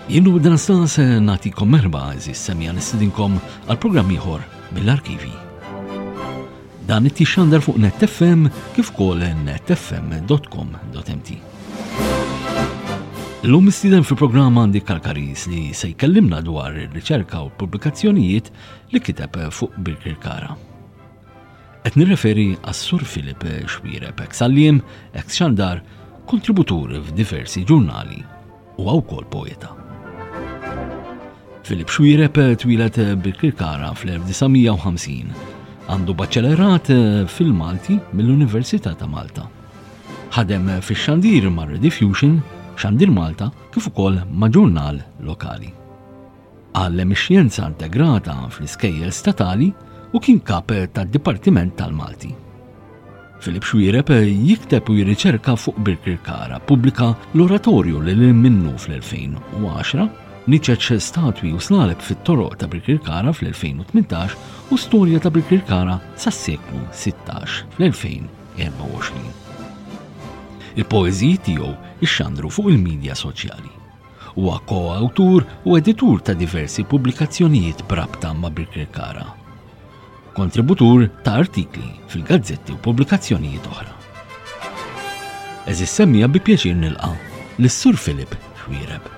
Jien u dan se nagħtikom merba eżis semja nistidinkom għal programm ieħor mill-arkivi. Dan it-tixandar fuq Net FM kif ukoll netfm.com.mt. Illum mistieden fil-programm għandi Kalkaris li se jkellimna dwar ir-riċerka u pubblikazzjonijiet li kiteb fuq Birkirkara. Qed nirreferi għas-Sur Philip Xuereb, eks għalliem, eks xandar, kontributur f'diversi ġurnali u wkoll poeta. Philip Xuereb twieled Birkirkara fl-1950. Għandu baċċelerat fil-Malti mill-Università ta' Malta. Ħadem fix-xandir ma' Rediffusion, Xandir Malta, kif ukoll ma' ġurnal lokali. Għallem ix-xjenza integrata fl-iskejjel statali u kien kap tad-Dipartiment tal-Malti. Philip Xuereb jikteb u jirriċerka fuq Birkirkara, pubblika l-oratorju li lil minnu fl-2010, niċeċ statwi u slaleb fit-toroq ta' Birkirkara fl-2018 u storja ta' Birkirkara sas-seklu 16 fl-2024. Il-poeżiji tiegħu ixxandru fuq il-midja soċjali. Huwa ko-awtur u editur ta' diversi pubblikazzjonijiet b'rabta ma' Birkirkara. Kontributur ta' artikli fil-gazzetti u pubblikazzjonijiet oħra. Eżis semmija bi pjaċir nilqa' lis-Sur Philip Xuereb.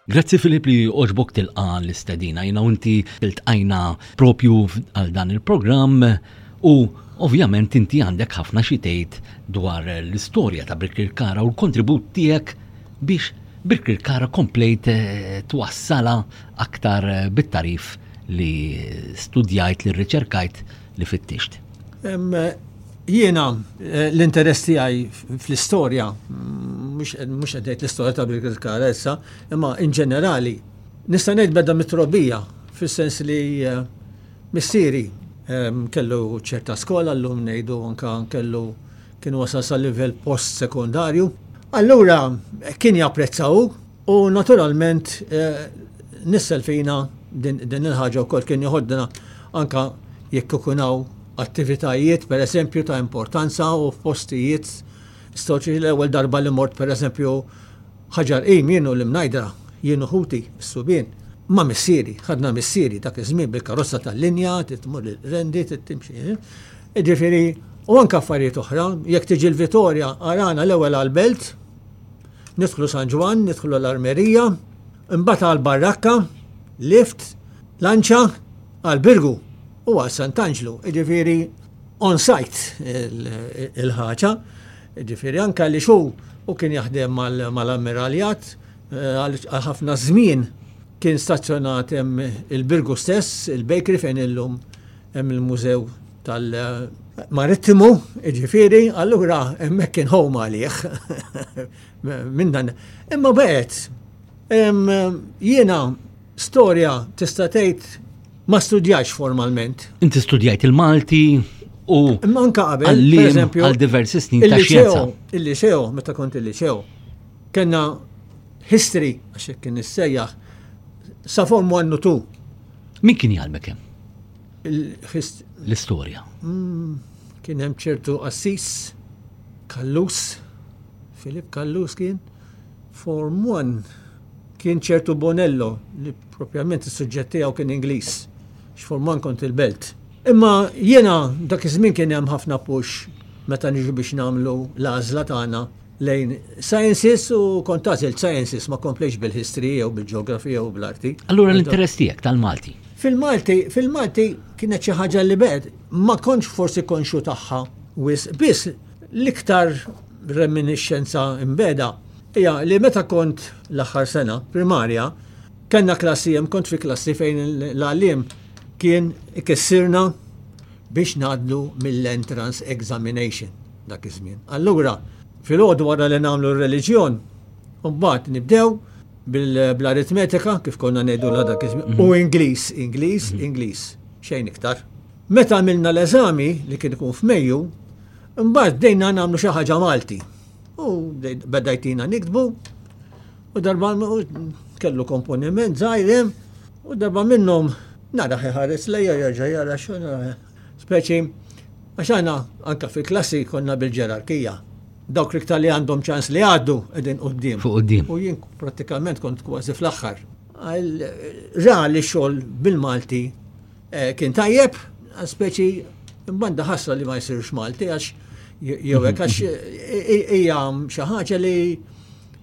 Grazzi Filip li oġbok tilqa l-istedina. Jina u inti iltqajna propju għal dan il-programm u ovvjament inti għandek ħafna xi tgħid dwar l-istorja ta' Birkirkara u l-kontribut tiegħek biex Birkirkara komplejt eh, twassala aktar eh, bit-tarif li studjajt, li rriċerkajt, li fittixt. Jiena eh, l-interess tiegħi fl-istorja, mhux qed ngħid l-istorja ta' Birkirkara issa, imma in ġenerali, nista' ngħid beda mit-trobbija, fis-sens li eh, missieri ehm, kellu ċerta skola llum ngħidu anka kellu kien wasal sa livell post sekondarju. Allura kien japprezzaw u naturalment eh, nissel fina din il-ħaġa wkoll kien joħodna anka jekk ikun hawn attivitajiet pereżempju ta' importanza u f'postijiet storiċi l-ewwel darba li mort pereżempju Ħaġar Qim jien u l-Imnajdra, jien u ħuti, is-subien, ma' missieri, ħadna missieri dak iż-żmien bil-karozza tal-linja, trid tmur il-Qrendi, trid timxi. Jiġifieri, u anke affarijiet oħra, jekk tiġi l-Vitorja arana l-ewwel għall-Belt, nidħlu San Ġwann, nidħlu l-Armerija, imbagħad għall-Barrakka, lift, lanċa, għall-Birgu u għal Sant'Anġlu, jiġifieri on site il-ħaġa, jiġifieri anke għaliex hu hu kien jaħdem mal-ammiraljat eh, għal ħafna żmien kien stazzjonat hemm il-Birgu stess, il-bakery fejn illum hemm il-mużew tal-marittimu, jiġifieri, allura hemmhekk kien home għalih. Minn dan. Imma baqgħet jiena Storja tista' tgħid ma studjajtx formalment. Inti studjajt il-Malti u Imma anka qabel, pereżempju, għal diversi snin ta' xjenza. Il-liceo, meta kont il-liceo, kellna history, għax hekk kien issejjaħ, sa form 1 u 2. Min kien jgħallmek hemm? L-istorja. Mm, kien hemm ċertu qassis, Kallus, Filip Kallus kien, form 1 Kien ċertu Bonello li propjament is-suġġett tiegħu kien Ingliż, x'form one kont il-Belt. Imma jiena dak iż-żmien kien hemm ħafna push meta niġu biex nagħmlu l-għażla tagħna lejn sciences u kont għażilt sciences ma komplejtx bil-history jew bil-geography jew bl-arti. Allura l-interess tiegħek tal-Malti? Fil-Malti, fil-Malti kienet xi ħaġa li bed ma kontx forsi konxju tagħha wisq, biss l-iktar reminiscenza imbeda Hija li meta kont l-aħħar sena primarja, kellna klassi hemm kont fi klassi fejn l-għalliem kien ikissirna biex ngħaddu mill-entrance examination dak iż-żmien. Allura, filgħodu wara li nagħmlu r-reliġjon, mbagħad nibdew bl-aritmetika kif konna ngħidu dak iż-żmien u mhm. Ingliż, Ingliż, mhm. Ingliż, xejn iktar. Meta għamilna l-eżami li kien ikun f'Mejju, mbagħad bdejna nagħmlu xi ħaġa Malti. U beda jtina niktbu, u darba kellu komponiment żgħir hemm, u darba minnhom Nara ħares lejja jerġa' jara xogħol. Speċi, għax aħna anke fil-klassi konna bil-ġerarkija. Dawk l-iktar li għandhom ċans li għaddu qegħdin quddiem. Fuq quddiem. U jien prattikament kont kważi fl-aħħar. Ra li xogħol bil-Malti eh, kien tajjeb, speċi banda ħasra li ma jsirx Malti għax jew hekk għax eh, hija xi ħaġa li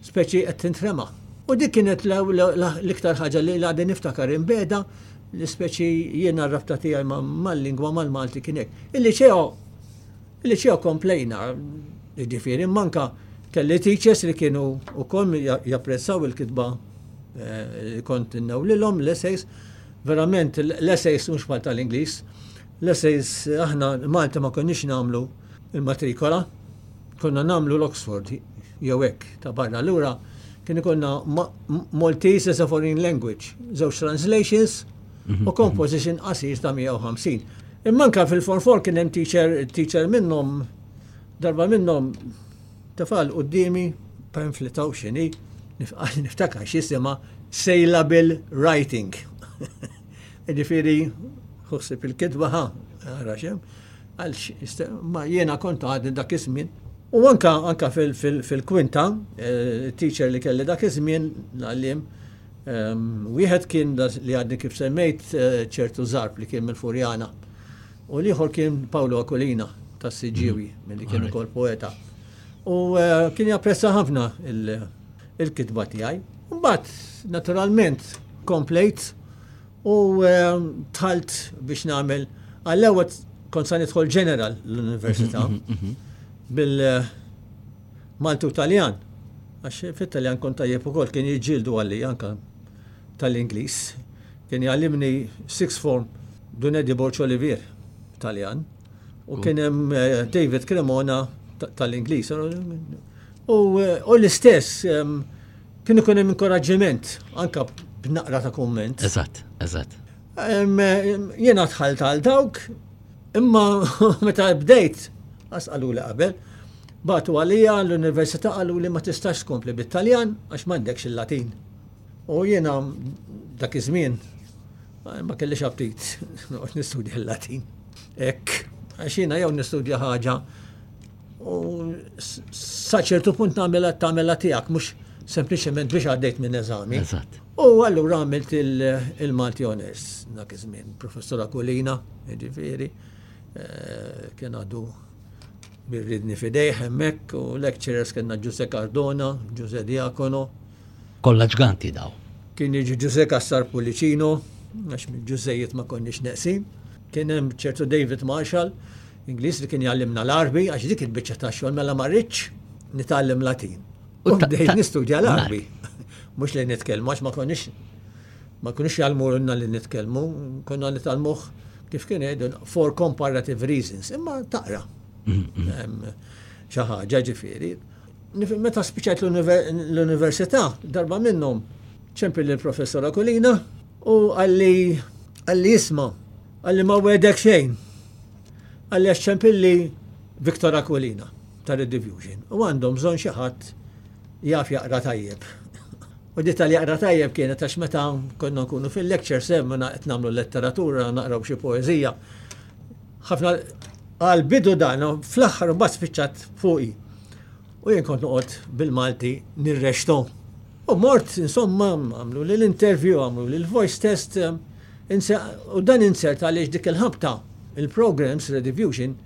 speċi qed tintrema. U dik kienet l-iktar ħaġa li għadni niftakar imbeda li speċi jiena r-rabta tiegħi mal-lingwa mal-Malti kien hekk. Il-liċeo il-liċeo komplejna, jiġifieri manka kelli teachers li kienu wkoll japprezzaw il-kitba eh, li kont innewlilhom l-essays. Verament l-essays mhux bħal tal-Ingliż. L-essays aħna Malta ma konniex nagħmlu il-matrikola, konna nagħmlu l-Oxford jew hekk ta' barra. Allura kien ikollna Maltese as a foreign language, żewġ translations mhm, u composition mhm. qasir ta' 150. Imma anka fil-Form 4 kien hemm teacher, teacher minnhom darba minnhom tefal qudiemi pamphlet hawn x'inhi, niftakar x'jisimha Sailable Writing. Ġifieri ħossib il-kitba ħa, ara xem, għal ma jiena kont għadni dak iż-żmien. U anka anka fil-kwinta, eh, teacher li kelli dak iż-żmien l-għallim, ehm, wieħed kien li għadni kif semmejt eh, ċertu zarb li kien mill-Furjana. U l-ieħor kien Paolo Aquilina tas-Siġġiewi, mhm. milli kien ukoll poeta. U eh, kien japprezza ħafna il-kitba tiegħi. Mbagħad, naturalment, komplejt u eh, tħalt biex nagħmel għall-ewwel kont sa nidħol ġeneral l-università mhm, mhm, bil eh, Malti u Taljan. Għax fit-Taljan kont tajjeb ukoll kien jiġġieldu għalli anka tal-Ingliż. Kien jgħallimni sixth form Dun Eddie Borg Olivier, Taljan, u kien hemm eh, David Cremona tal-Ingliż. U eh, l-istess ehm, kien ikun hemm inkoraġġiment anka b'naqra ta' kumment. Eżatt, eżatt. Ehm, jiena dħalt għal dawk, imma meta bdejt, għasqalu li qabel, batu għalija l-università qalu li ma tistax tkompli bit-Taljan għax m'għandekx il-Latin. U jiena dak iż-żmien ma kellix aptit noqgħod nistudja l-Latin. Hekk, għax jiena jew nistudja ħaġa u sa ċertu punt nagħmilha tagħmilha tiegħek mhux sempliċement biex għaddejt minn eżami. Eżatt. U allura għamilt il-Malti Honors dak iż-żmien, Professor Aquilina, jiġifieri, eh, kien għadu birridni fidejh hemmhekk u lecturers kellna Ġuse Cardona, Ġuse Diacono, Kollha ġganti daw. Kien jiġi Ġuże Cassar Pullicino, għax mill-Ġużejiet ma konniex neqsin. Kien hemm ċertu David Marshall, Ingliż li kien jgħallimna l-Għarbi, għax dik il-biċċa ta' xogħol mela ma rridx nitgħallem Latin. U bdejt nistudja l-Għarbi. Mhux li nitkellmu għax ma konniex ma konniex jgħallmulna li nitkellmu, konna nitgħallmuh kif kien jgħidu for comparative reasons, imma taqra. Mm-hmm. Xi ħaġa ġifieri. Meta spiċċajt l-università, darba minnhom ċempil lill-professor Akulina u qalli qalli isma' qalli ma wegħdek xejn. Qalli għax ċempilli Victor Aquilina ta' Rediffusion u għandhom bżonn xi ħadd jaf jaqra tajjeb. U di tal-jaqra tajjeb kienet għax meta konna nkunu fil-lecture sem qed nagħmlu letteratura, naqraw xi poeżija. Ħafna għal bidu dan, fl-aħħar mbagħad spiċċat fuqi. U jien kont noqgħod bil-Malti nirrexto. U mort, insomma, għamlu li l-interview, għamlu li l-voice test, u dan insert għaliex dik il-ħabta, il-programs, Rediffusion,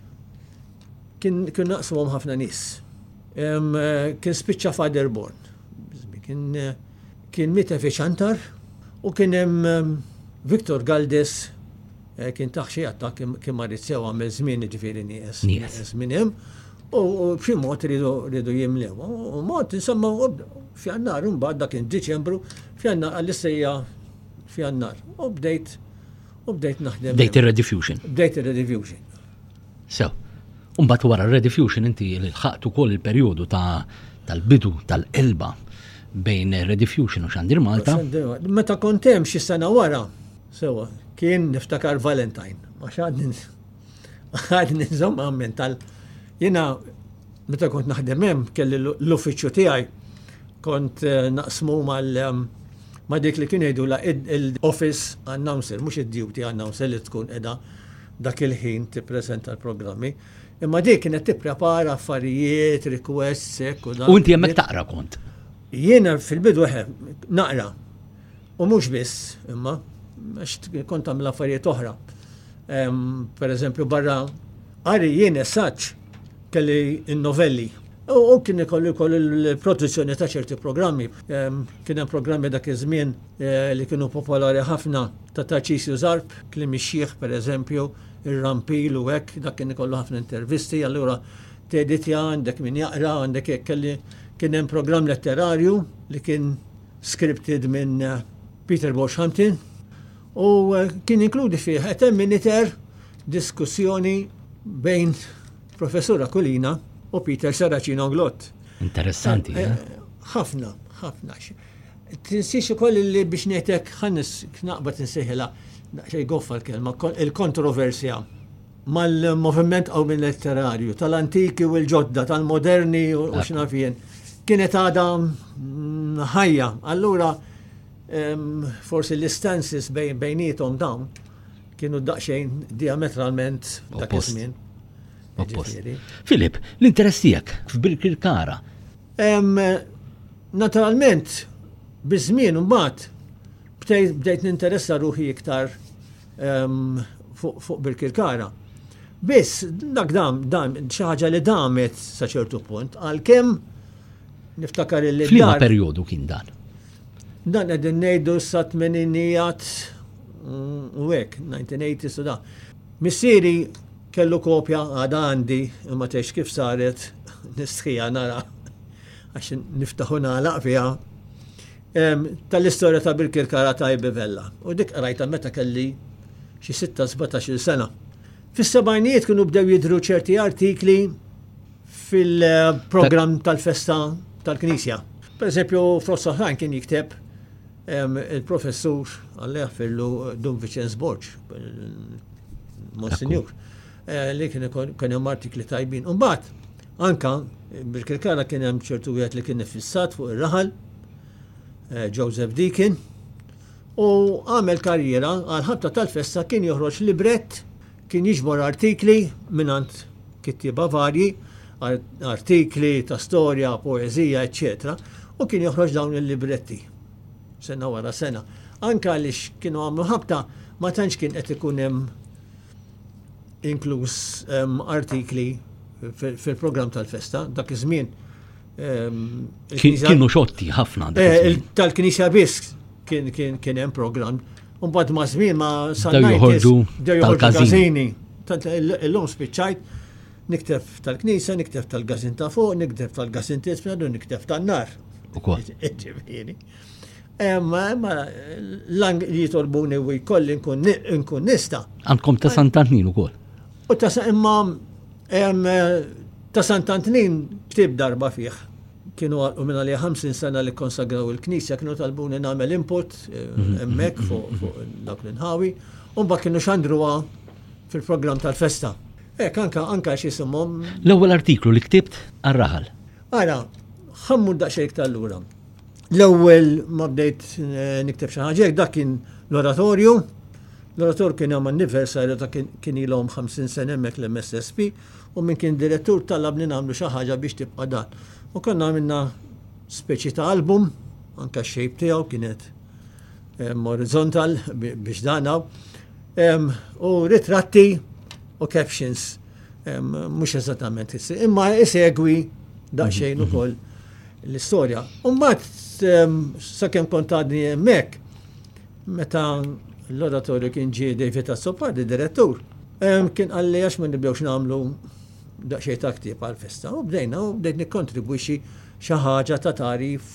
kien naqsuhom ħafna nies. Kien spiċċa Father Born. Kien kien miet fi Ċantar u kien hemm Victor Galdes Eh, kien taħ xi attakk kien marid sew għamel żmien jiġifieri nieqes. Nieqes minn hemm. U b'xi mod ridu jimlew. U mod insomma f'Jannar imbagħad dak kien Diċembru, f'Jannar għall-istejja f'Jannar. U bdejt u bdejt naħdem. Bdejt ir-Rediffusion. Bdejt ir-Rediffusion. Sew. Umbagħad wara r-Rediffusion inti lħaqt ukoll il-perjodu ta' tal-bidu tal-qelba bejn Rediffusion u Xandir Malta. Meta kont hemm xi sena wara, Sewa, kien niftakar Valentine, għax għadni għadni nżomm għammen tal jiena meta kont naħdem hemm kelli l-uffiċċju tiegħi kont eh, naqsmu mal ehm, ma' dik li kienu jgħidulha l-office announcer, mhux id-duty announcer li tkun qiegħda dak il-ħin tippreżenta l-programmi. Imma dik kienet tipprepara affarijiet, requests, hekk u dan. U inti hemmhekk taqra kont? Jiena fil-bidu eħe, naqra. U mhux biss, imma, għax kont tagħmel affarijiet oħra. Per eżempju, barra qari jien essaġġ kelli n-novelli. U kien ikollu jkollu l-produzzjoni ta' ċerti programmi. Kien hemm programmi dak iż-żmien eh, li kienu popolari ħafna ta' Tarċisju Zarb, Kliem ix-Xiħ pereżempju, ir-Rampil u hekk, dak kien ikollu ħafna intervisti, allura teditja għandek min jaqra, għandek hekk kelli kien hemm programm letterarju li kien scripted minn eh, Peter Bosch Hampton u eh, kien inkludi fih qed hemm miniter diskussjoni bejn Professur Aquilina u Peter Saracino Glott. Interessanti, eh? eh? Ħafna, ħafna. Tinsiex ukoll li biex ngħidlek ħanis naqbad insejħilha xejn goffa l-kelma, il-kontroversja mal-moviment qawmi letterarju tal-antiki u l-ġodda, tal-moderni u x'nafien, kienet għadha mm, ħajja. Allura forsi l-istances bejnietom dawn Kienu daqsxejn diametralment dak iż-żmien. Filip, l-interess tiegħek f'Birkirkara? Naturalment, biż-żmien imbagħad bdejt ninteressa ruħi iktar fuq Birkirkara. Biss, dak dam, dam, xi ħaġa li damet sa ċertu punt, għalkemm niftakar li. F'liema perjodu kien dan? Dan qegħdin ngħidu sa tmeninijat u hekk, 1980s u da. Missieri kellu kopja għadha għandi imma tgħidx kif saret nistħija nara għax niftaħ u nagħlaq fiha tal-istorja ta' Birkirkara ta' Ibi Vella. U dik qrajtha meta kelli xi 6-17 sena. Fis-sebgħinijiet kienu bdew jidhru ċerti artikli fil-programm tal-festa tal-Knisja. Per eżempju, fost oħrajn kien jikteb il-professur Alla jaħfirlu Dun Viċenz Borg, Monsignor, eh, li kien kien hemm artikli tajbin. Imbagħad anka bil-Kirkara kien hemm ċertu wieħed li kien iffissat fuq ir-raħal, eh, Joseph Deacon, u għamel karriera għal ħabta tal-festa kien joħroġ librett Kien jiġbor artikli mingħand kittieba varji, artikli ta' storja, poeżija, eċċetera, u kien joħroġ dawn il-libretti sena wara sena. Anke għaliex kienu għamlu ħabta ma tantx kien qed ikun hemm inkluż artikli fil-programm tal-festa dak iż-żmien. Kienu xotti ħafna. Eh, tal-Knisja biss kien hemm programm Mbagħad ma' żmien ma sa' joħorġu tal-każini. Tant illum spiċċajt nikteb tal-knisja, nikteb tal-gazin ta' fuq, nikteb tal-gazin tisfel u nikteb tan-nar. Ukoll. Ġifieri. Imma l-ang li jitolbuni u jkolli nkun nista. Għandkom ta' Sant'Antnin ukoll. U ta' imma ta' Sant'Antnin ktib darba fih. Kienu għalqu minn għalija 50 sena li kkonsagraw il-knisja, kienu talbuni nagħmel input eh, mhm. hemmhekk fuq dawk l-inħawi, u mbagħad kienu xandruha fil-programm tal-festa. Hekk anka anka x'isimhom. L-ewwel artiklu li ktibt għar-raħal. Ara, ħammur daqsxejn iktar lura. L-ewwel ma bdejt eh, nikteb xi ħaġa dak kien l-oratorju. L-oratorju kien hemm anniversarju ta' kien ilhom 50 sena hemmhekk l-MSSP u min kien direttur talabni nagħmlu xi ħaġa biex tibqa' dan. U konna għamilna speċi ta' album, anka x-shape tiegħu kienet horizontal biex dan u ritratti u captions mhux eżattament imma isegwi daqsxejn mhm, ukoll l-istorja. U mbagħad sakemm kont għadni hemmhekk, Meta l-oratorju kien ġie David Azzopardi, direttur, kien qalli għax ma nibdewx nagħmlu daqsxejn ta' ktieb għall-festa. U bdejna u bdejt nikkontribwixxi xi ħaġa ta' tagħrif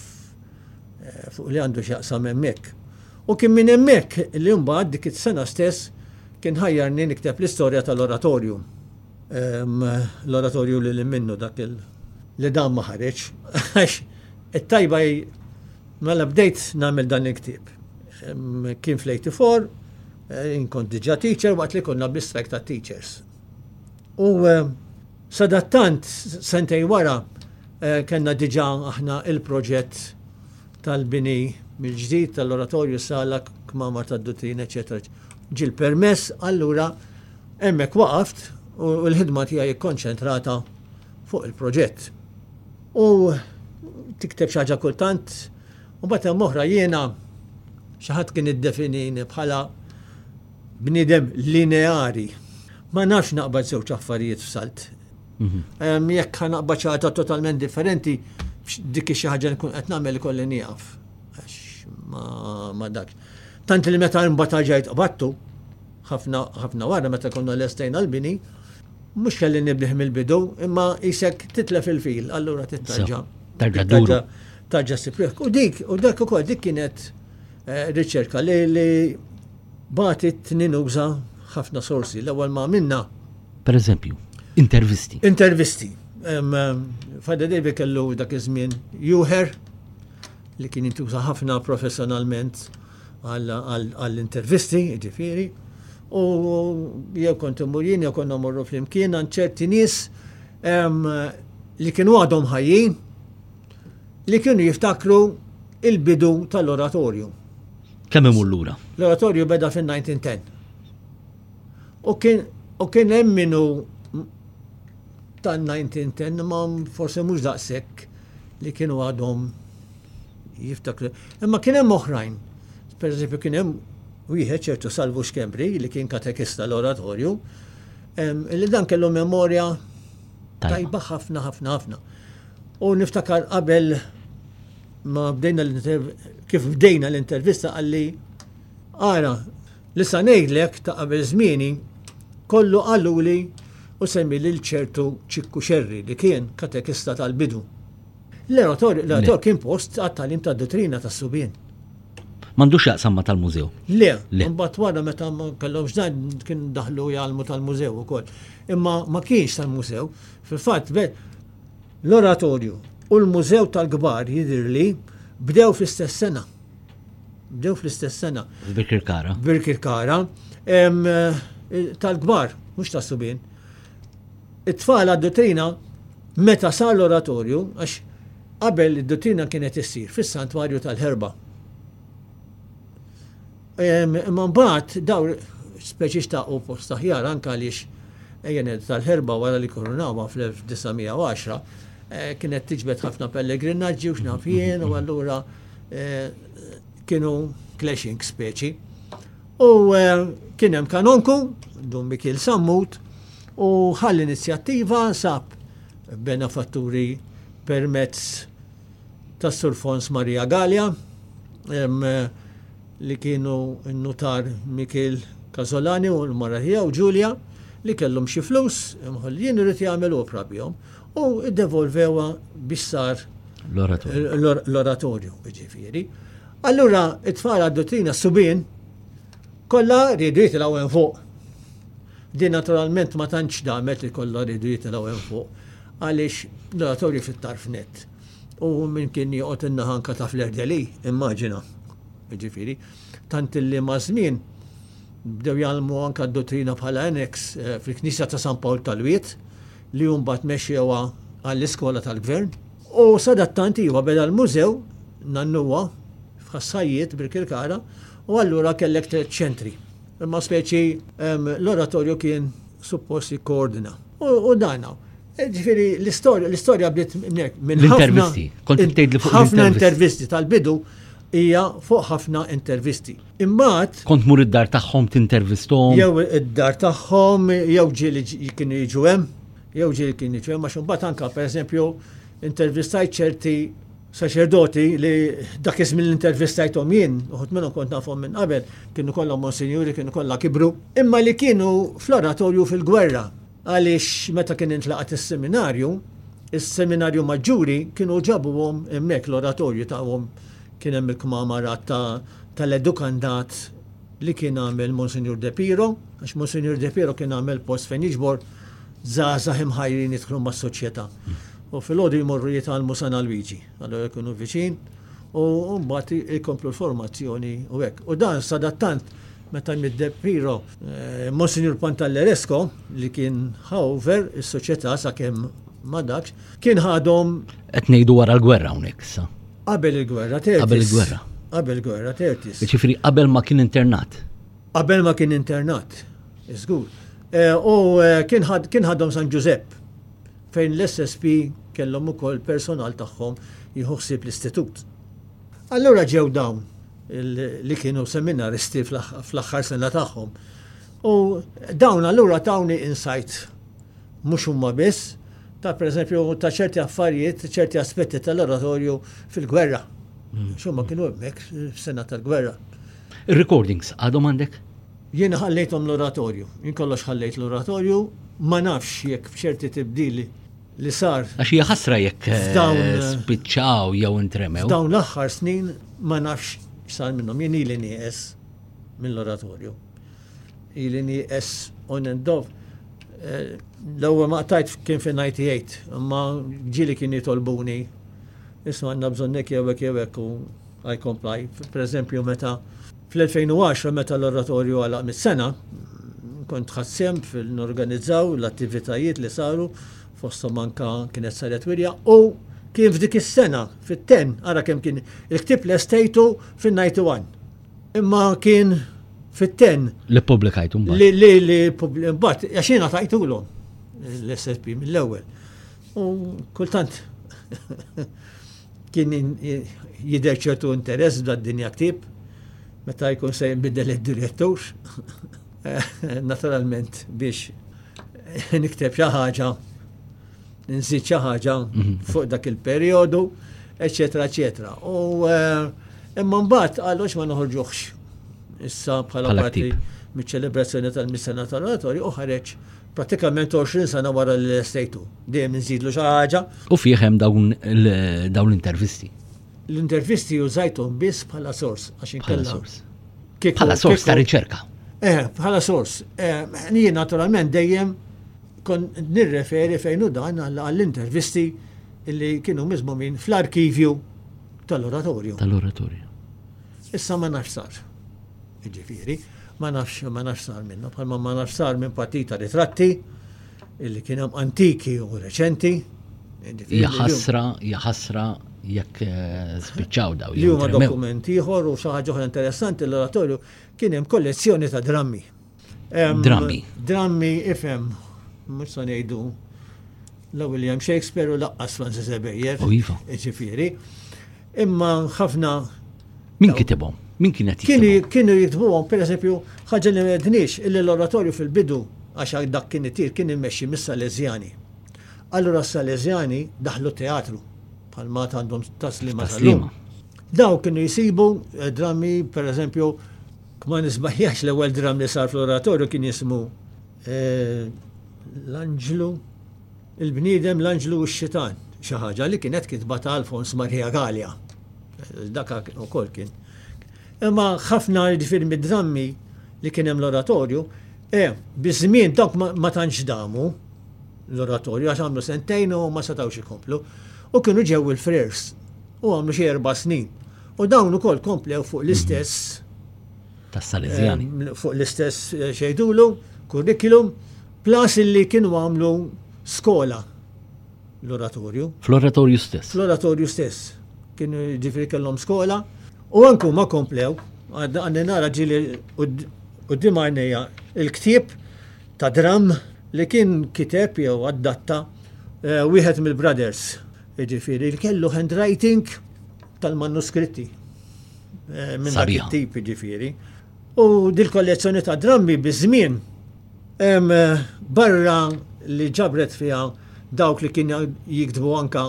eh, fuq li għandu x'jaqsam hemmhekk. U kien minn hemmhekk li mbagħad dik is-sena stess kien ħajjarni nikteb l-istorja tal-oratorju. L-oratorju li minnu dak il li dan ma ħareġ. Għax it-tajba Mela bdejt nagħmel dan il-ktieb. Kien fl-84, eh, inkont diġà teacher waqt li konna bi-strike ta' teachers. U eh, sadattant, sentejn wara, eh, kellna diġà aħna il-proġett tal-bini mill-ġdid tal-oratorju sala kmamar tad-duttrina, eċetera. Ġie l-permess, allura hemmhekk waqaft u l-ħidma tiegħi kkonċentrata fuq il-proġett. U tikteb xi ħaġa kultant, u mbagħad hemm oħra jiena xi ħadd kien iddefinini bħala bniedem lineari. Ma nafx naqbad żewġ affarijiet f'salt. Mhm. Jekk naqbad xi ħaġa totalment differenti, dik xi ħaġa nkun qed nagħmel ikolli nieqaf. Għax ma dak. Tant li meta mbagħad ġejt qbattu, ħafna ħafna wara meta konna lestejna l-bini, mhux kelli nibdih mill-bidu, imma isek titlef il-fil, allura tittarġa. Tarġa duru. Tarġa sipriħ. U dik, u dak ukoll dik kienet eh, riċerka li li bagħtet ninuża ħafna sorsi. L-ewwel ma minna. Per eżempju, intervisti. Intervisti. Father David kellu dak iż-żmien Juher li kien jintuża ħafna professjonalment għall-intervisti, ġifieri, u jew kont immur jien jew konna morru flimkien għand ċerti nies li kienu għadhom ħajjin li kienu jiftakru il-bidu tal-oratorju. Kemm imur lura? L-oratorju beda fin-1910. U kien u kien hemm minnu tan-1910 ma forse mhux daqshekk li kienu għadhom jiftakru. Imma kien hemm oħrajn. Per eżempju kien hemm wieħed ċertu Salvu Xkembri li kien katekista l-oratorju, li dan kellu memorja tajba ħafna ħafna ħafna. U niftakar qabel ma bdejna kif bdejna l-intervista qalli ara li sa ngħidlek ta' qabel żmieni kollu qaluli u semmi lil ċertu Ċikku Xerri li kien katekista tal-bidu. L-oratorju kien post għat-tagħlim tad-duttrina tas-subien. M'għandux x'jaqsam ma' tal-mużew. Le, imbagħad wara meta ma kellhomx dan kien daħlu jgħallmu tal-mużew ukoll. Imma ma kienx tal-mużew. Fil-fatt l-oratorju u l-mużew tal-kbar jidhirli bdew fl-istess sena. Bdew fl-istess sena. Birkirkara. Birkirkara. Eh, tal-kbar, mhux tas-subien. It-tfal għad-duttrina meta sar l-oratorju, għax qabel id-duttrina kienet issir fis-santwarju tal-Ħerba. Imma mbagħad daw speċi xtaqu post aħjar anke għaliex ejja ngħidu tal-Ħerba wara li kurunawha fl-1910 eh, kienet tiġbed ħafna pellegrinaġġi u x'naf jien u allura eh, kienu clashing speċi. U eh, kien hemm kanonku, Dun Mikiel Sammut, u ħa l-inizjattiva sab benefatturi permezz tas-Sur Fons Maria Galea li kienu n-nutar Mikiel Casolani u l-mara tiegħu Giulia li kellhom xi flus imħollin irid jagħmel opra bihom u ddevolvewha biex sar l-oratorju ġifieri. Allura it-tfal għad-duttrina subien kollha riedu jitilgħu hemm fuq. Din naturalment ma tantx damet li kollha riedu jitilgħu hemm fuq għaliex l-oratorju fit-tarf nett. U min kien joqgħod in-naħa anka ta' Fleur-de-Lis, immaġina. Ġifieri, tant illi maż-żmien bdew jgħallmu anka d-duttrina bħala annex eh, fil-Knisja ta' San Pawl tal-Wied li mbagħad mexxewha għall-iskola tal-gvern. U sadattant iva beda l-mużew nannuwa f'Ħas-Sajjied Birkirkara u allura kellek tlett ċentri. Imma speċi l-oratorju kien suppost jikkoordina. U dan hawn. E, ġifieri l-istorja l-istorja bdiet minn intervisti. Kont tgħid li fuq ħafna intervisti tal-bidu hija fuq ħafna intervisti. Imbagħad kont mur id-dar tagħhom tintervisthom. Jew id-dar tagħhom, jew ġieli kienu jiġu hemm, jew ġieli kienu jiġu hemm għax imbagħad anke pereżempju intervistajt ċerti Saċerdoti li dak iż-żmien li intervistajthom jien, uħud minnhom kont nafhom minn qabel, kienu kollha monsinjuri, kienu kollha kibru, imma li kienu fl-oratorju fil-gwerra. Għaliex meta kien intlaqat is-seminarju, is-seminarju maġġuri kienu ġabuhom hemmhekk l-oratorju tawhom kien hemm il-kmamarat tal-edukandat li kien għamel Monsinjur De Piro, għax Monsinjur De Piro kien għamel post fejn jiġbor żgħażagħ imħajrin jidħlu mas-soċjetà. U filgħodu jmorru jitgħallmu San Alwiġi, allura jkunu viċin, u mbagħad ikomplu l-formazzjoni u hekk. U dan sadattant meta miet De Piro, eh, Monsinjur Pantalleresco li kien ħa over is-soċjetà sakemm ma dakx, kien ħadhom Qed ngħidu wara l-gwerra hawnhekk issa. Qabel il-gwerra, Qabel il-gwerra. Qabel gwerra, 30s. Ġifieri qabel ma kien internat. Qabel ma kien internat, żgur. Eh, u eh, kien ħadhom San Ġużepp fejn l-SSP kellhom ukoll personal tagħhom jieħu ħsieb l-istitut. Allura ġew dawn li kienu seminaristi fl-aħħar sena tagħhom. U dawn allura tawni insight mhux huma biss ta' pereżempju ta' ċerti affarijiet, ċerti aspetti tal-oratorju fil-gwerra. Mm. Xumma kienu hemmhekk f'sena tal-gwerra. Ir-recordings għadhom għandek? Jiena ħallejthom l-oratorju. Jien kollox ħallejt l-oratorju, ma nafx jekk f'ċerti tibdili li sar. Għax hija ħasra jekk eh, spiċċaw jew intremew. Dawn l-aħħar snin ma nafx x'sar minnhom. Jien ili nieqes mill-oratorju. Ili nieqes on and off. Eh, l-ewwel ma qtajt kien fi 98, imma ġieli kien jitolbuni. Isma' għandna bżonnek jew hekk jew hekk u I comply. Per eżempju, meta fl-2010 meta l-oratorju għalaq mis-sena, kont ħadt sehem fil-norganizzaw l-attivitajiet li saru fosthom anka kienet saret wirja u kien f'dik is-sena fit-10 ara kemm kien il-ktieb lestejtu fin-91. Imma kien fit-10. Li ppubblikajtu mbagħad. Li li li mbagħad għax jiena tajtulhom l-SSP mill-ewwel. U kultant Kien jidher ċertu interess f'dad-dinja ktieb meta jkun se jinbidel id-direttur. Naturalment biex nikteb xi ħaġa, nżid xi ħaġa mhm. fuq dak il-perjodu, eċetera, eċetera. U eh, imma mbagħad qalu ma noħorġuhx issa bħala parti miċ-ċelebrazzjoni tal-missena tal-oratorju u ħareġ Pratikament 20 sena wara li lestejtu. Dejjem inżidlu xi ħaġa. U fih hemm dawn l-intervisti. L-intervisti użajthom biss bħala sors għax inkella. Bħala sors ta' riċerka. Eh, bħala sors. Eh, jien naturalment dejjem kon nirreferi fejn u dan għall-intervisti li kienu miżmumin fl-arkivju tal-oratorju. Tal-oratorju. Issa ma nafx sar. Jiġifieri, ma nafx ma nafx sar minnu, bħalma ma nafx sar minn partita ritratti illi kien hemm antiki u reċenti. Hija ħasra, hija ħasra jekk eh, spiċċaw daw. Li huma dokument ieħor u xi ħaġa oħra interessanti l-oratorju kien hemm kollezzjoni ta' drammi. Drammi. Drammi ifhem, mhux se ngħidu la William Shakespeare u laqqas Francis Ebejer. U iva. Ġifieri. Imma ħafna. Min kitibhom? Min kienet jiktibhom? Kienu jiktbuhom, per eżempju, ħaġa li m'għedniex, illi l-oratorju fil-bidu, għax dak kien itir, kien immexxi mis-Salesjani. Allura s-Salesjani daħlu teatru, bħalma għandhom taslima tal-lum. Daw kienu jisibu eh, drammi, per eżempju, ma nisbaħjax l-ewwel dram li sar fl-oratorju kien jismu eh, l-Anġlu Il-bniedem, l-anġlu u x-xitan, xi ħaġa li kienet kitba ta' Alfons Maria Galea. Dak ukoll kien. Imma ħafna jiġifieri mid-drammi li kien hemm l-oratorju, eh, biż-żmien dawk ma tantx damu l-oratorju għax għamlu sentejn u ma setgħux ikomplu. U kienu ġew il-frers u għamlu xi erba' snin. U dawn ukoll komplew fuq l-istess tas-Salesjani. Eh, fuq l-istess eh, xejdulu, curriculum, Plus illi kienu għamlu skola l-oratorju. Fl-oratorju stess. Fl-oratorju stess. Kienu ġifiri kellhom skola u anku ma komplew. Għandi nara ġili quddiem għajnejja il-ktieb ta' dram li kien kiteb jew adatta eh, wieħed mill-brothers. Ġifieri li kellu handwriting tal-manuskritti. Eh, minn dak it-tip ġifieri. U dil-kollezzjoni ta' drammi biż-żmien Barra li ġabret fiha dawk li kien jiktbu anka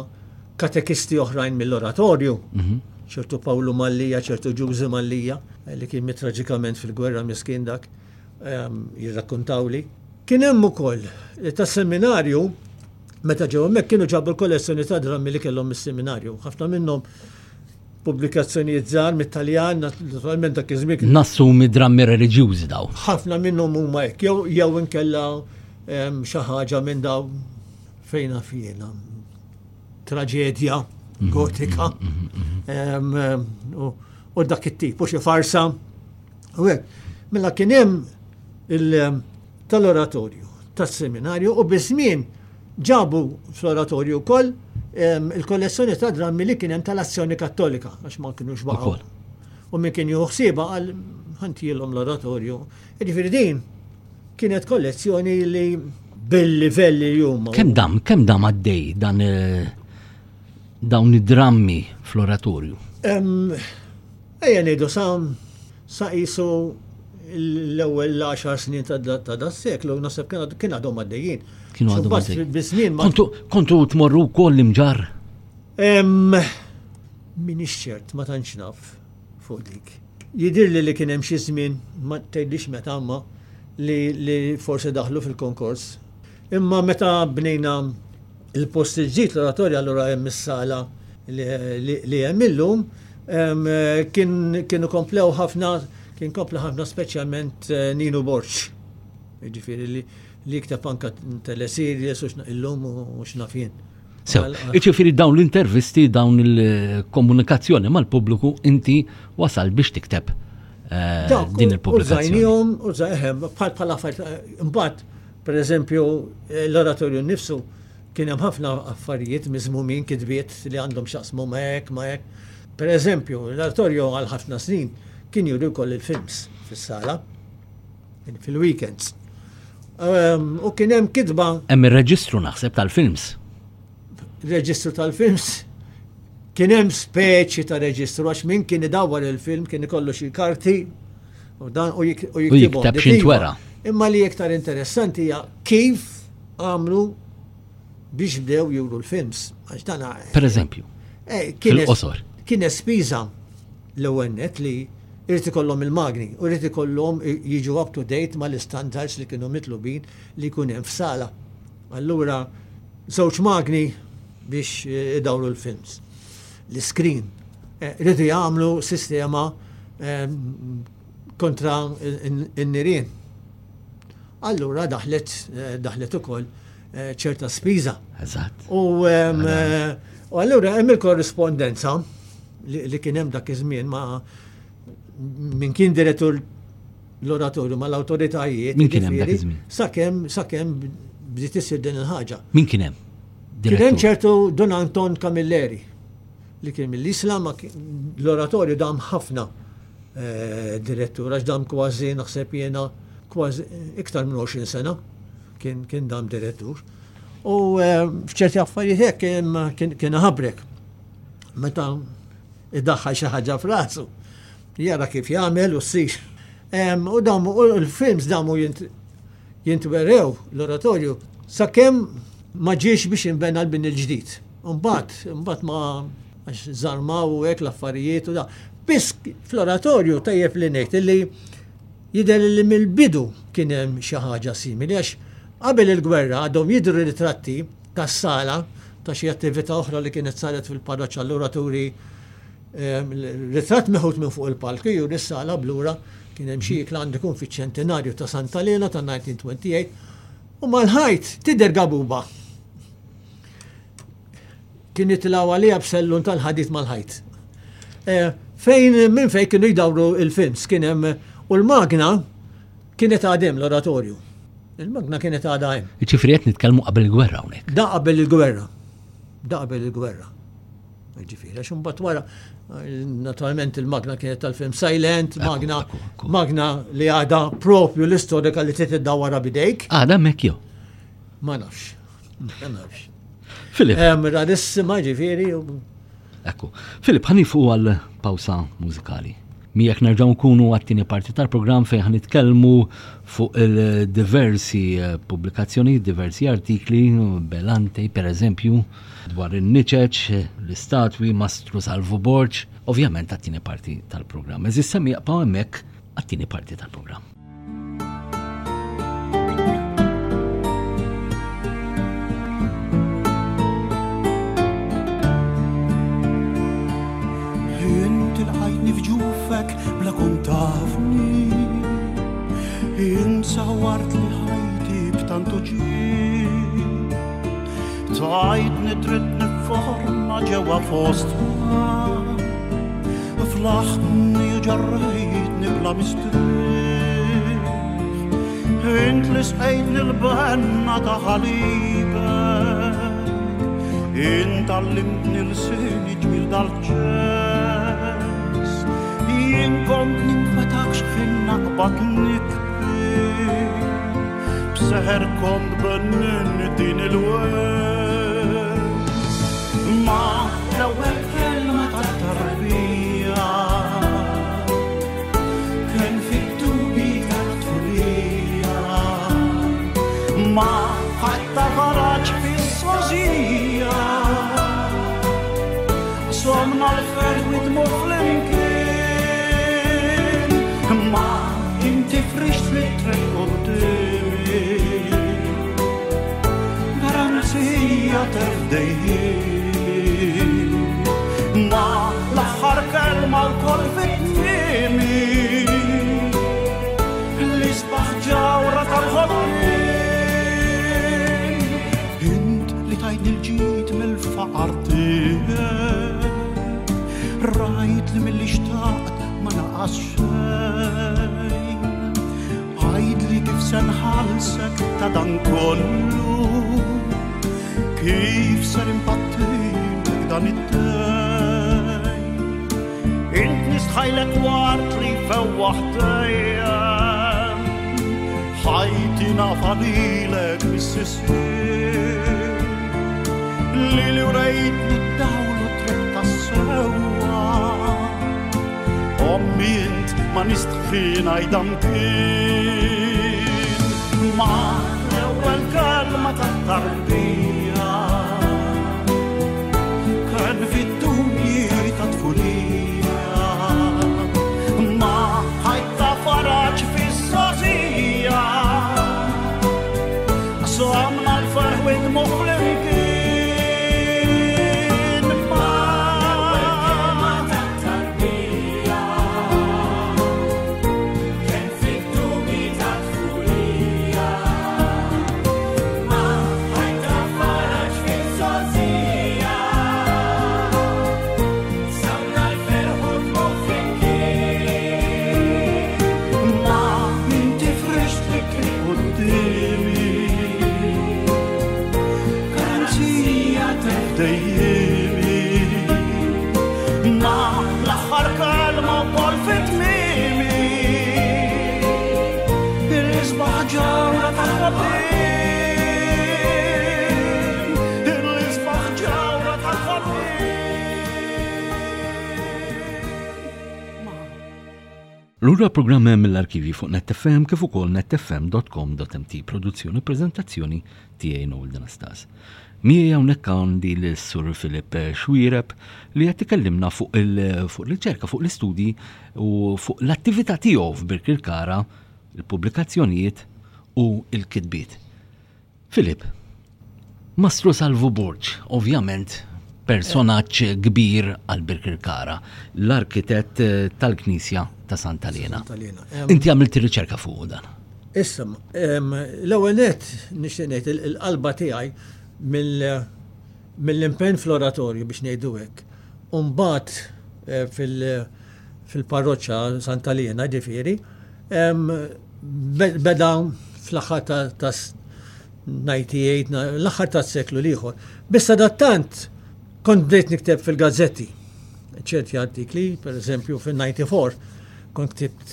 katekisti oħrajn mill-oratorju, mhm. ċertu Pawlu Mallija, ċertu Ġużi Mallija, li kien miet traġikament fil-gwerra miskin dak, jirrakkuntawli. Kien hemm ukoll tas-seminarju meta ġew hemmhekk kienu ġabu l-kollezzjoni ta' drammi li kellhom mis-seminarju. Ħafna minnhom Pubblikazzjonijiet żgħar mit-Taljan, naturalment dak iż-żmien. Nassumi drammi reliġjużi daw. Ħafna minnhom huma hekk, jew jew inkella xi ħaġa minn daw fejn naf jiena. Traġedja mhm, gotika mhm, mhm, u dak it-tip, u xi farsa. U hekk. Mela kien hemm tal-oratorju, tas-seminarju u biż-żmien ġabu fl-oratorju wkoll il-kollezzjoni ta' drammi li kien hemm tal-Azzjoni Kattolika għax ma kinux baqgħu. U min kien jieħu ħsiebha qal ħantielhom l-oratorju. Jiġifieri din kienet kollezzjoni li bil-livelli li huma. Kemm dam, kemm dam għaddej dan eh, dawn id-drammi fl-oratorju? Ejja ngħidu sa sa qisu l-ewwel 10 snin ta' da seklu naħseb kien għadhom għaddejjin. Kienu għadhom għaddejjin. Kontu tmorru wkoll l-imġarr? Minix ċert, ma tantx naf fuq dik. Jidhirli li kien hemm xi żmien, ma tgħidlix meta imma, li, li forsi daħlu fil-konkors. Imma meta bnejna il-post il-ġdid l-oratorja allura hemm is-sala li, li, li hemm illum, kien, kienu komplew ħafna, kien kompla ħafna speċjalment eh, Ninu Borg. Jiġifieri li li jikteb anka teleseries u illum u x'naf jien. Sew, iġifieri dawn l-intervisti, dawn il-komunikazzjoni mal-pubbliku inti wasal biex tikteb eh, din il-pubblikazzjoni. Użajnihom, użajhem, bħal bħal affarijiet, eh, imbagħad, pereżempju, eh, l-oratorju nnifsu kien hemm ħafna affarijiet miżmumin kitbiet li għandhom x'jaqsmu ma' hekk, ma' hekk. Pereżempju, l-oratorju għal ħafna snin kien juri wkoll il-films fis-sala. Fil-weekends. Ehm, u kien hemm kitba. Hemm ir-reġistru naħseb tal-films. Reġistru tal-films. Kien hemm speċi ta' reġistru għax min kien idawwar il-film kien ikollu xi karti u dan u jikteb x'intwera. Imma li iktar interessanti hija kif għamlu biex bdew juru l-films. Għax dan Per eżempju. Eh, fil-qosor. Kien spiża l-ewwel net li Irid ikollhom il-magni u jrid ikollhom jiġu up to date mal-istandards li kienu mitlubin li jkun hemm f'sala. Allura żewġ magni biex idawru l-films. L-iskrin. Eh, rridu jagħmlu sistema ehm, kontra n-nirien. Allura daħlet eh, daħlet ukoll eh, ċerta spiża. Eżatt. U ehm, allura hemm il-korrispondenza li kien hemm dak iż-żmien ma' min kien direttur l-oratorju mal-awtoritajiet. Min kien hemm dak iż-żmien? Sakemm sakemm bdiet isir din il-ħaġa. Min kien hemm? Kien hemm ċertu Don Anton Camilleri li kien mill-Isla ma l-oratorju dam ħafna eh, direttur għax dam kważi naħseb jiena kważi iktar minn 20 sena kien kien dam direttur. U eh, f'ċerti affarijiet hekk kien ħabrek. Meta idaħħal xi ħaġa f'rasu, jara kif jagħmel u ssir. U damu u l-films damu jintwerew l-oratorju sakemm ma ġiex biex inbena l-bini l-ġdid. Mbagħad, mbagħad ma għax żarmaw u hekk l-affarijiet u da. Biss fl-oratorju tajjeb li ngħid illi jidher li mill-bidu kien hemm xi ħaġa simili għax qabel il-gwerra għadhom jidhru ritratti tas-sala ta' xi attività oħra li kienet saret fil-parroċċa allura turi ehm, ritratt meħud minn fuq il-palk juri s-sala blura kien hemm xi ikla għandu jkun fiċ-ċentenarju ta' Santa Lena ta' 1928 u mal-ħajt tidher gabuba. Kien jitilgħu għaliha b'sellun tal-ħadid mal-ħajt. Eh, fejn minn fejn kienu jdawru il-films kien hemm u l-magna kienet għadem l-oratorju. Il-magna kienet għadha hemm. Jiġifieri qed nitkellmu qabel il-gwerra hawnhekk. Da qabel il-gwerra. Da qabel il-gwerra. Ġifieri, għax imbagħad wara naturalment il-magna kienet tal-film Silent, magna magna li għadha propju l-istorika li trid iddawwarha bidejk. Għadha hemmhekk jew? Ma nafx. Ma nafx. Filip. Rarissima ġifieri. Ekku. Filip, ħanifu għal pawsa mużikali. Miegħek nerġgħu nkunu għat-tieni parti tal-programm fejn ħa nitkellmu fuq il-diversi eh, pubblikazzjoni, diversi artikli, Belante per eżempju, dwar in-niċeċ, l-istatwi, Mastru Salvu Borg, ovvjament għat-tieni parti tal-programm. Eżis semmi jaqpaw hemmhekk għat-tieni parti tal-programm. Bla kont tafni Insawart li ħajti b'tantu ġie Tajtni dritt niforma ġewwa fostna Flaħtni u ġarrejtni bla mistrieħ Int li sqejtni l-benna ta' ħalibek Int għallimtni l-sini ġmil dal-ċess. Jien kont ninkwetak x'ħin naqbad nibki. B'seħer kont bennin din il-welt. Ma l-ewwel kelma tat-tarbija kien fit-tubi tat-tfulija. Ma ħadd faraġ fis-sożija. Somna l-ferħ nidmu flimkien. Ma inti frixt li triq qudiemi. Garanzija terfdejjimi. Ma l-aħħar kelma wkoll fit-tmiemi. L-isbaħ ġawra tal-ħolqien. Int li tajtni l-ġid mill-faqar tiegħek. Rajt li milli xtaqt ma naqas xejn. Għidli kif se nħallsek ta' dan kollu. Kif ser impattilek dan id-dejn. Int nistħajlek wart li fewwaħ dejjem. Ħajti nafa lilek mis-sisien. Li li urejtni d-dawl u triq tas-sewwa. Ommi int ma nistħi ngħidha mkien. Ma l-ewwel kelma tat-tarbija kien fid-dubji ta' tfulija. Ma ħajta faraġ fis-sosija. Somna l-ferħ u d-dmugħ flimkien. Ma l-ewwel kelma tat-tarbija kien fid-dubji ta' tfulija. Ma ħajta faraġ fis-sosija. Samna l-ferħ u d-dmugħ flimkien. Ma inti frixt li triq qudiemi. Garanzija tefdejjimi. Ma l-aħħar kelma wkoll fit-tmiemi. Il-isbaħ ġawra tal-ħolqien. Il-isbaħ ġawra tal-ħolqien. Lura programm mill-arkivi fuq NetFM kif ukoll netfm.com.mt produzzjoni u preżentazzjoni tiegħi Noel Anastas. Miegħi hawnhekk għandi l-Sur Filip Xuereb li qed ikellimna fuq il-riċerka, fuq l-istudji u fuq l-attività tiegħu f'Birkirkara, il-pubblikazzjonijiet u l-kitbiet. Filip, Mastru Salvu Borg, ovvjament personaġġ kbir għal Birkirkara, l-arkitett tal-Knisja ta' Santa Liena. Santa Liena. Inti għamilt riċerka fuq dan. Issa, l-ewwel nett nixtieq ngħid il-qalba tiegħi mill-impenn fl-oratorju biex ngħidu hekk. U mbagħad fil-parroċċa Santa Liena ġifieri, beda fl-aħħar ta' 98, l-aħħar tas-seklu l-ieħor. Biss sadattant kont bdejt nikteb fil-gazzetti ċerti artikli, per eżempju fil-94 kont ktibt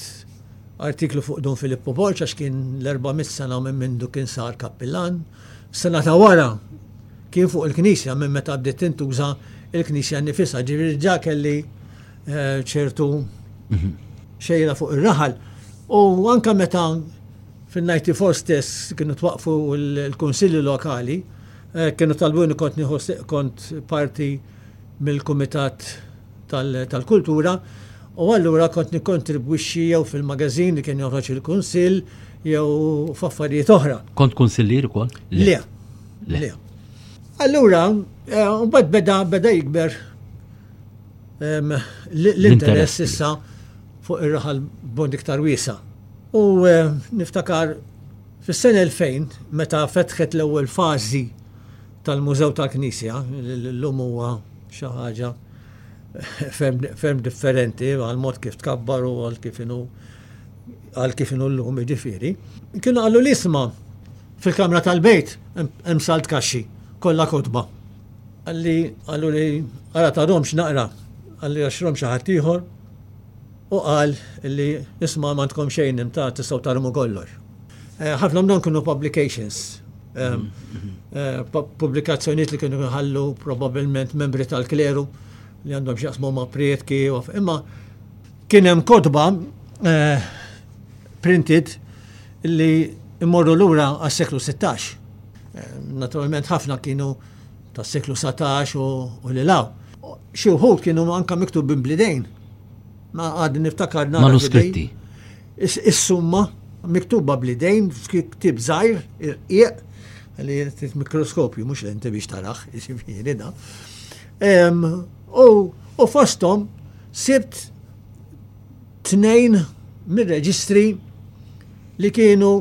artiklu fuq Dun Filippo Borg għax kien l-400 sena minn mindu kien sar kappillan. Sena ta' wara kien fuq il-Knisja minn meta bdiet tintuża il-Knisja nifisha, ġifieri ġa kelli ċertu xejra fuq ir-raħal. U anka meta fil-94 stess kienu twaqfu l-kunsilli lokali, kienu talbuni kont nieħu kont parti mill-Kumitat tal-Kultura, u allura kont nikkontribwixxi jew fil-magazin li kien joħroġ il-Kunsill jew f'affarijiet oħra. Kont kunsillier ukoll? Le. Le. Le. Allura, mbagħad beda jikber l-interess issa fuq ir-raħal b'mod iktar wiesa'. U niftakar fis-sena 2000 meta fetħet l-ewwel fażi tal-Mużew tal-Knisja, l-lum huwa xi ħaġa ferm differenti għal mod kif tkabbar u għal kif inhu għal kif inhu llum jiġifieri. Kienu qalu li isma' fil-kamra tal-bejt hemm salt kaxxi kollha kotba. Qalli qalu li ara tarhomx naqra, qalli għax rom xi ħadd ieħor. u qal li isma' m'għandkom xejn imta tistgħu tarmu kollox. Eh, ħafna minnhom kienu publications, eh, pubblikazzjonijiet li kienu jħallu probabbilment membri tal-kleru li għandhom x'jaqsmu ma' prietki, imma kien hemm kotba eh, printed li immorru lura għas-seklu 16. Naturalment ħafna kienu tas-seklu 19 u li law. Xi wħud kienu anka miktubin blidejn. Ma għad niftakar nara. Manuskritti. Is-summa miktuba bl-idejn f'ktieb żgħir irqiq li trid mikroskopju mhux lenti biex taraħ, jiġifieri da. U fosthom sibt tnejn mir-reġistri li kienu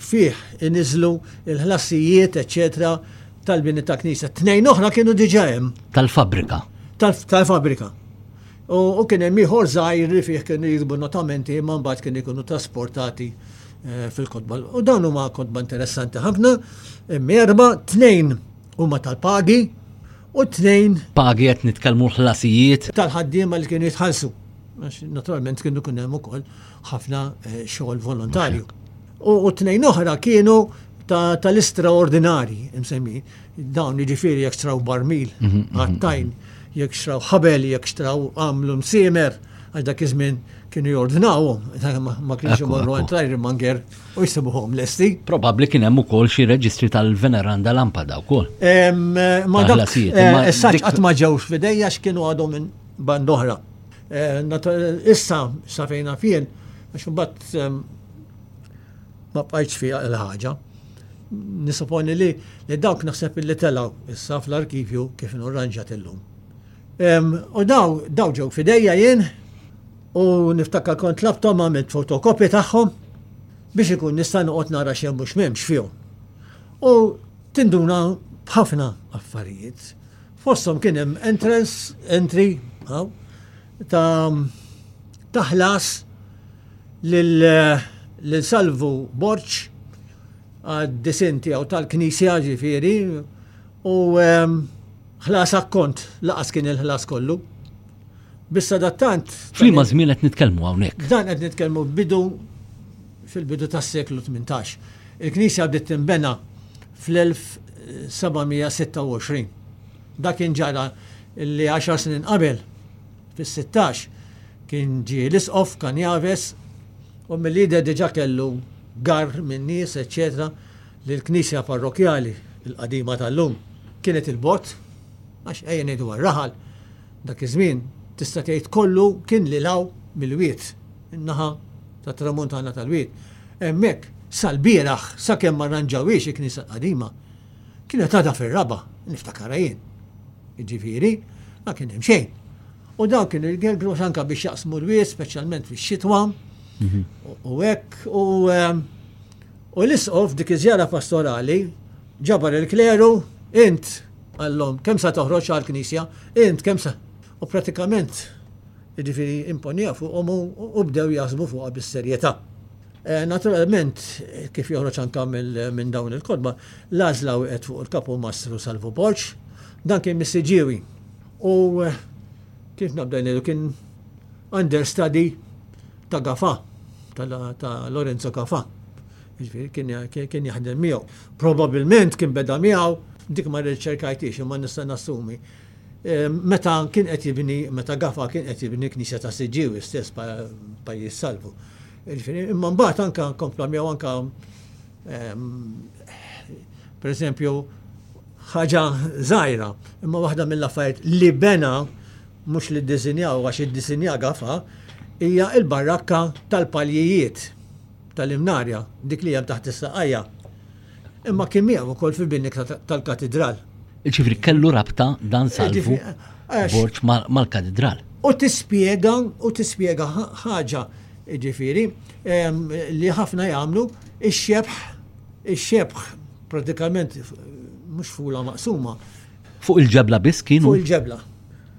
fih iniżlu il-ħlasijiet, eċċetera, tal-bini ta' knisja. Tnejn oħra kienu diġà hemm. Tal-fabbrika. Tal-fabbrika. U kien hemm ieħor żgħir li fih kienu jiktbu notamenti imma mbagħad kienu jkunu trasportati eh, fil-kotba. U dawn huma kotba interessanti ħafna, erba, tnejn huma tal-pagi u tnejn. Pagi qed nitkellmu ħlasijiet. Tal-ħaddiema li kienu jitħallsu. Naturalment kienu kien hemm ukoll ħafna eh, xogħol volontarju. U tnejn oħra kienu tal-istraordinari, imsemmi, Dawn jiġifieri jekk xtraw barmil, mhm, mhm, għattajn, mhm. jekk xtraw ħabel, jekk xtraw għamlu msiemer, għax dak iż-żmien kienu jordnawhom, ma kienx imorru għand l-Ironmonger u jsibuhom lesti. Probabbli kien hemm ukoll xi reġistri tal-Veneranda Lampada wkoll. Ma dak eh, issa qatt ma ġewx f'idejja x'kienu għadhom minn band oħra. Eh, issa sa fejna fien, għax imbagħad ma bqajtx fiha il-ħaġa. Nisuponi li li dawk naħseb illi telgħu issa fl-arkivju kif inhu rranġat illum. U daw daw ġew fidejja jien u niftakar kont tlabthom għamilt fotokopji tagħhom biex ikun nista' noqgħod nara x'hemm u x'm'hemmx fihom. U tinduna b'ħafna affarijiet. Fosthom kien hemm entrance, entry, ta' ta' ħlas lil Salvu Borg għad-disinn tiegħu tal-knisja ġifieri u ehm, ħlas akkont laqas kien il-ħlas kollu. Bissa dattant. F'liema żmien qed nitkellmu hawnhekk? Dan qed nitkellmu bidu fil-bidu tas-seklu 18. Il-knisja bdiet tinbena fl-1726. Dak kien ġara li 10 snin qabel Fis-sittax kien ġie l-Isqof Canjaves u mill-jidher diġà kellu garr minn nies eċċetera li l-knisja parrokkjali, il-qadima tal-lum, kienet 'il bogħod, għax ejja ngħidu għar-raħal, dak iż-żmien tista' tgħid kollu kien lil hawn mill-wied, in-naħa tat-tramuntana tal-wied. Hemmhekk sal-bieraħ sakemm ma rranġawhiex il-knisja l-qadima, kienet għadha fir-raba', niftakarha jien. Jiġifieri, ma kien hemm xejn. U dawn kienu jgergru anka biex jaqsmu l-wied, speċjalment fix-xitwa. Mhm. U hekk, u ehm, u l-isqof dik iż-żjara pastorali ġabar il-kleru, int għallhom kemm sa toħroġ għall-knisja, int kemm sa. U pratikament jiġifieri imponija fuqhom u bdew jaħsbu fuqha bis-serjetà. Eh, naturalment, kif joħroġ anka minn dawn il-kotba, l-għażla wieqet fuq il-kapu Mastru Salvu Borg, dan kien mis-Siġġiewi. U eh, kif nabda ngħidu kien understudy ta' Gafa, ta' Lorenzo Gafa. Jiġifieri kien jaħdem miegħu. Probabilment kien beda miegħu, dik ma rriċerkajtix imma nista' nassumi. Eh, meta kien qed jibni, meta Gafa kien qed jibni knisja ta' Siġġiewi stess pajjiż Salvu. Jiġifieri, imma mbagħad anka kompla miegħu anka ehm, per eżempju ħaġa żgħira, imma waħda mill-affarijiet li bena mhux li ddisinjaw għax iddisinja gafa hija l-barrakka tal-paljijiet tal-imnarja, dik li hemm taħt is-saqajja. Imma kien miegħu wkoll fil-bini tal-katidral. Ġifieri kellu rabta dan salvu Borġ mal-katidral. U tispjega u tispjega ħaġa ġifieri li ħafna jagħmlu ix-xebħ ix-xebħ pratikament mhux fula maqsuma. Fuq il-ġebla biss kienu? Fuq il-ġebla.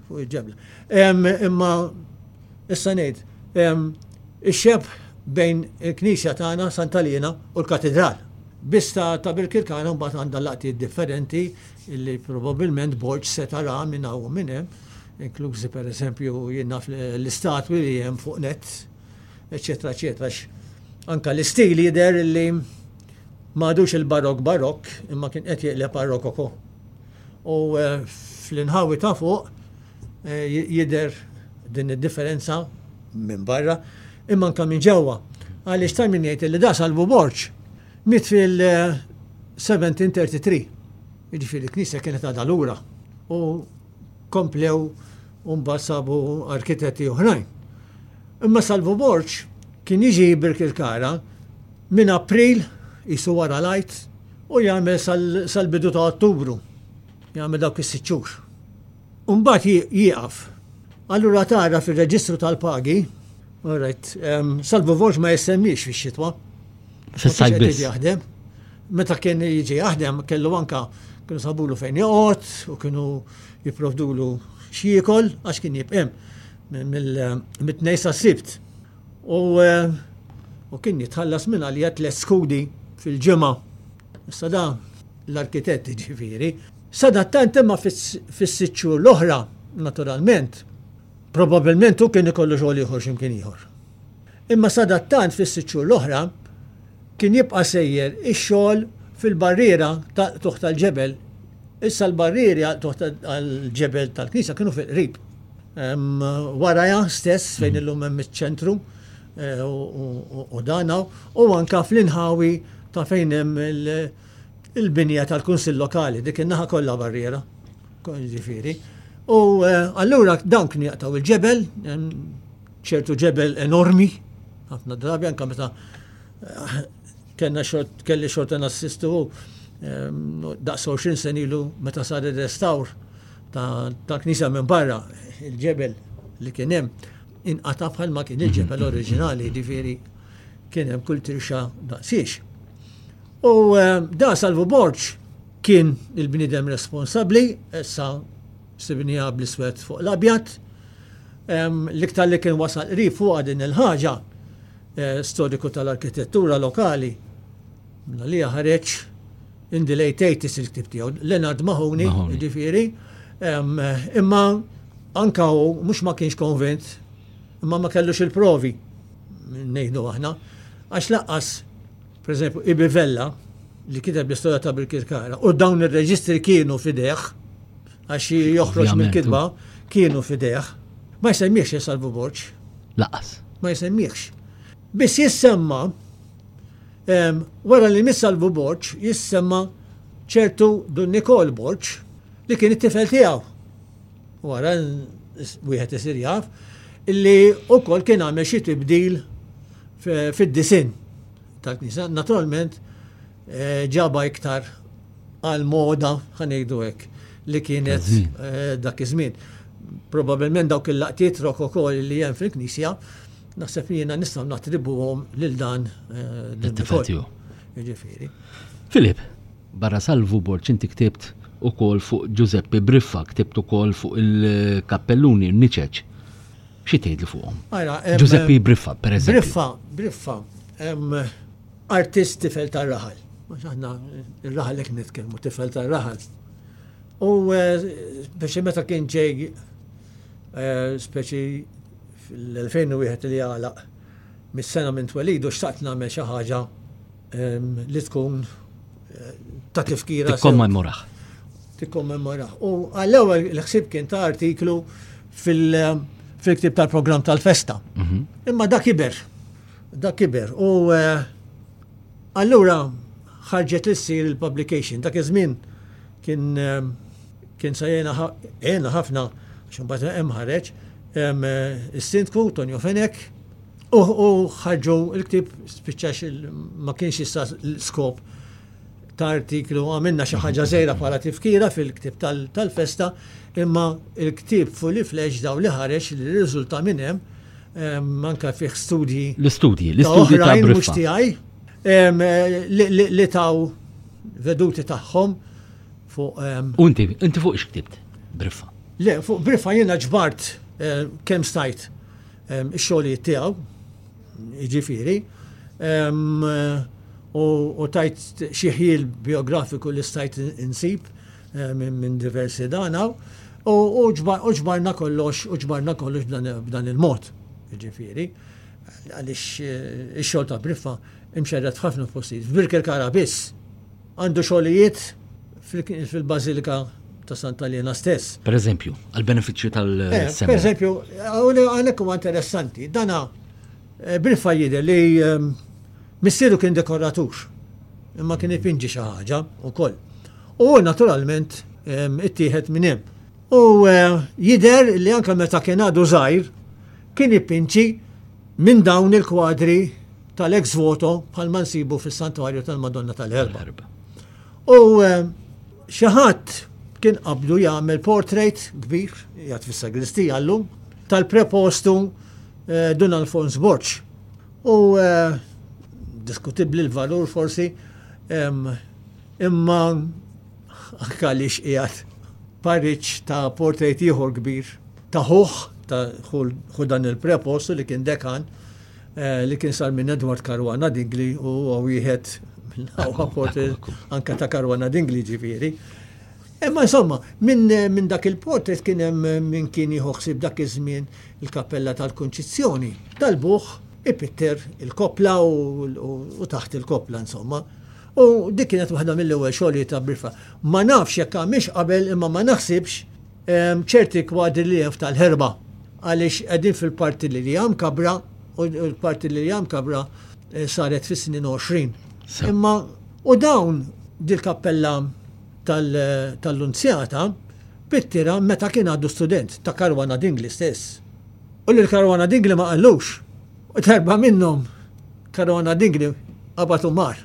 Fuq il-ġebla. Imma issa ngħid ix-xebħ bejn il-knisja tagħna Santa Liena u l-katedral. Biss ta' Birkirkara mbagħad għandha laqtiet differenti li probabbilment Borg seta' ra minn hawn u minn hemm. Inklużi per eżempju jien naf l-istatwi li hemm fuq net, eċetera, eċetera. Anka l-istil jidher li m'għadux il-barok barok, imma kien qed jeqleb għal rokoko. U eh, fl-inħawi ta' fuq eh, jidher din id-differenza minn barra, imma anka minn ġewwa. Għaliex ta' min jgħid li da Salvu Borġ miet fil-1733. Jiġifieri l-knisja kienet għadha lura. U komplew u mbagħad sabu arkitetti oħrajn. Imma Salvu Borg kien jiġi Birkirkara minn April qisu wara l-Għid u jagħmel sal-bidu ta' Ottubru. Jagħmel dawk is-sitt xhur. U mbagħad jieqaf. Allura tara fir-reġistru tal-pagi, all right, Salvu Borg ma jissemmix fix-xitwa. Fis-sajf biss. Jaħdem. Meta kien jiġi jaħdem kellu anka kienu sabulu fejn joqgħod u kienu jipprovdulu x'jiekol għax kien jibqa' hemm mit-tnejn sas-Sibt. U eh, u kien jitħallas minn għalija tliet skudi fil-ġimgħa. Issa da l-arkitett ġifieri. Sadattant imma fis-sitt xhur l-oħra, naturalment, probabbilment hu kien ikollu xogħol ieħor x'imkien ieħor. Imma sadattant fis-sitt xhur l-oħra kien jibqa' sejjer ix-xogħol fil-barriera ta' qtugħ tal-ġebel. Issa l-barrieri għal qtugħ tal-ġebel tal-knisja kienu fil-qrib. Warajha stess fejn illum hemm iċ-ċentru eh, u dana u anka fl-inħawi ta' fejn hemm il-binja tal-Kunsill Lokali, dik in-naħa kollha barriera. Ġifieri. U eh, allura dawn kienu jaqtgħu il-ġebel, ċertu ġebel enormi, ħafna drabi anka meta eh, kellna xort kelli xorta nassistu ehm, daqs 20 sen ilu meta sar ir-restawr ta' knisja minn barra il-ġebel li kien hemm inqata' bħal ma kien il-ġebel oriġinali, ġifieri kien hemm kull tirxa daqsiex. U ehm, da Salvu Borġ kien il-bniedem responsabbli, issa sibniha bl-iswed fuq l-abjad. L-iktar li kien wasal qrib fuqha din il-ħaġa, eh, storiku tal-arkitettura lokali, minna li ħareġ in the late 80s il-ktib tiegħu, Leonard Mahoney, ġifieri, imma anka hu mhux ma kienx konvint, imma ma kellux il-provi, ngħidu aħna, għax laqqas Per eżempju, Ibi Vella, li kiteb l-istorja ta' Birkirkara, u dawn ir-reġistri kienu fideh, għax joħroġ mill-kitba, kienu fideh, ma jsemmihx Salvu Borġ. Laqas. Ma jsemmihx. Biss jissemma, wara li miss Salvu Borġ, jissemma ċertu Dun Nikol Borġ, li kien it-tifel tiegħu. Wara wieħed isir jaf, illi wkoll kien għamel xi tibdil fid-disinn tal-knisja. Naturalment eh, ġaba iktar għal moda ħanejdu hekk li kienet eh, dak iż-żmien. Probabilment dawk il-laqtiet rokoko li hemm fil-knisja, naħseb li jiena nistgħu nattribuhom lil dan eh, Jiġifieri. Filip, Barra Salvu Borg inti ktibt ukoll fuq Ġużeppi Briffa, ktibt ukoll fuq il-kappelluni, n-niċeċ. Xi tgħidli fuqhom? Ġużeppi Briffa, per eżempju. Briffa, Briffa, artist tifel tar-raħal. Mhux aħna ir-raħal hekk nitkellmu tifel tar-raħal. U eh, biex meta kien ġej eh, speċi fil-2001 li għalaq mis-sena minn twelidu xtaqt nagħmel xi ħaġa li tkun eh, ta' tifkira. Tikkommemorah. Tikkommemorah. U għall-ewwel l-ħsieb kien ta' artiklu fil-ktib tal-programm tal-festa. Mhm. Imma dak kiber. Dak kiber. U eh, allura ħarġet li ssir il-publication. Dak iż-żmien kien eh, kien sa jena ħafna għax imbagħad hemm ħareġ is-sindku Tonio Fenek U ħarġu il-ktieb spiċċax ma kienx issa l-skop ta' artiklu għamilna xi ħaġa żgħira bħala tifkira fil-ktieb tal-festa, imma il-ktieb fully fledged daw li ħareġ li rriżulta minn hemm anke fih studji. L-istudji, l-istudji ta' mhux tiegħi li taw veduti tagħhom fuq. U inti, inti fuq x'ktibt? Briffa. Le, fuq Briffa jiena ġbart eh, kemm stajt ix-xogħlijiet tiegħu, jiġifieri, u tajt xi ħjiel biografiku li stajt insib minn diversi dana. U ġbarna kollox, u ġbarna kollox b'dan il-mod, ġifieri, għaliex eh, ix-xogħol ta' Briffa imxerred f'ħafna postijiet. F'Birkirkara biss għandu xogħlijiet fil-Bażilika ta' Santa Liena stess. Per eżempju, għal-benefiċċju tal-semmi. Eh, per eżempju, għalhekk huwa interessanti, dana eh, Briffa jidher li ehm, missieru kien dekoratur, imma kien ipinġi xi ħaġa wkoll. U naturalment ehm, ittieħed minn hemm. U eh, jidher li anke meta kien għadu żgħir kien ipinġi minn dawn il-kwadri tal-ex voto bħalma nsibu fis-Santwarju tal-Madonna tal-Erba. U eh, xi ħadd kien qabdu jagħmel portrait kbir, jgħid fis-sagristija llum, tal-prepostu eh, Dun Alfons Borg. U diskutibbli l-valur forsi, Imma anke għaliex qiegħed pariġġ ta' portrait ieħor kbir ta' ħuh ta' ħu dan il-prepostu li kien dekan eh, li kien sar minn Edward Caruana Dingli u huwa wieħed mill-aqwa portrait anke ta' Caruana Dingli ġifieri. Imma insomma, minn min dak il-portrait kien hemm min kien jieħu ħsieb dak iż-żmien il-Kappella tal-Kunċizzjoni. Talbuh ipitter il-koppla u, u, u taħt il-koppla insomma. U dik kienet waħda mill-ewwel xogħlijiet ta' Briffa. Ma nafx jekk għamilx qabel imma ma naħsibx ehm, ċerti kwadri li hemm f'tal-ħerba għaliex qegħdin fil-parti li hija mkabra u l-parti li hija mkabra eh, saret fis-snin 20. Imma u dawn dil-kappella tal-Lunzjata pittira meta kien għadu student ta' Karwana Dingli stess. U lil Karwana Dingli ma qallux. U darba minnhom Karona Dingli qabad u mar.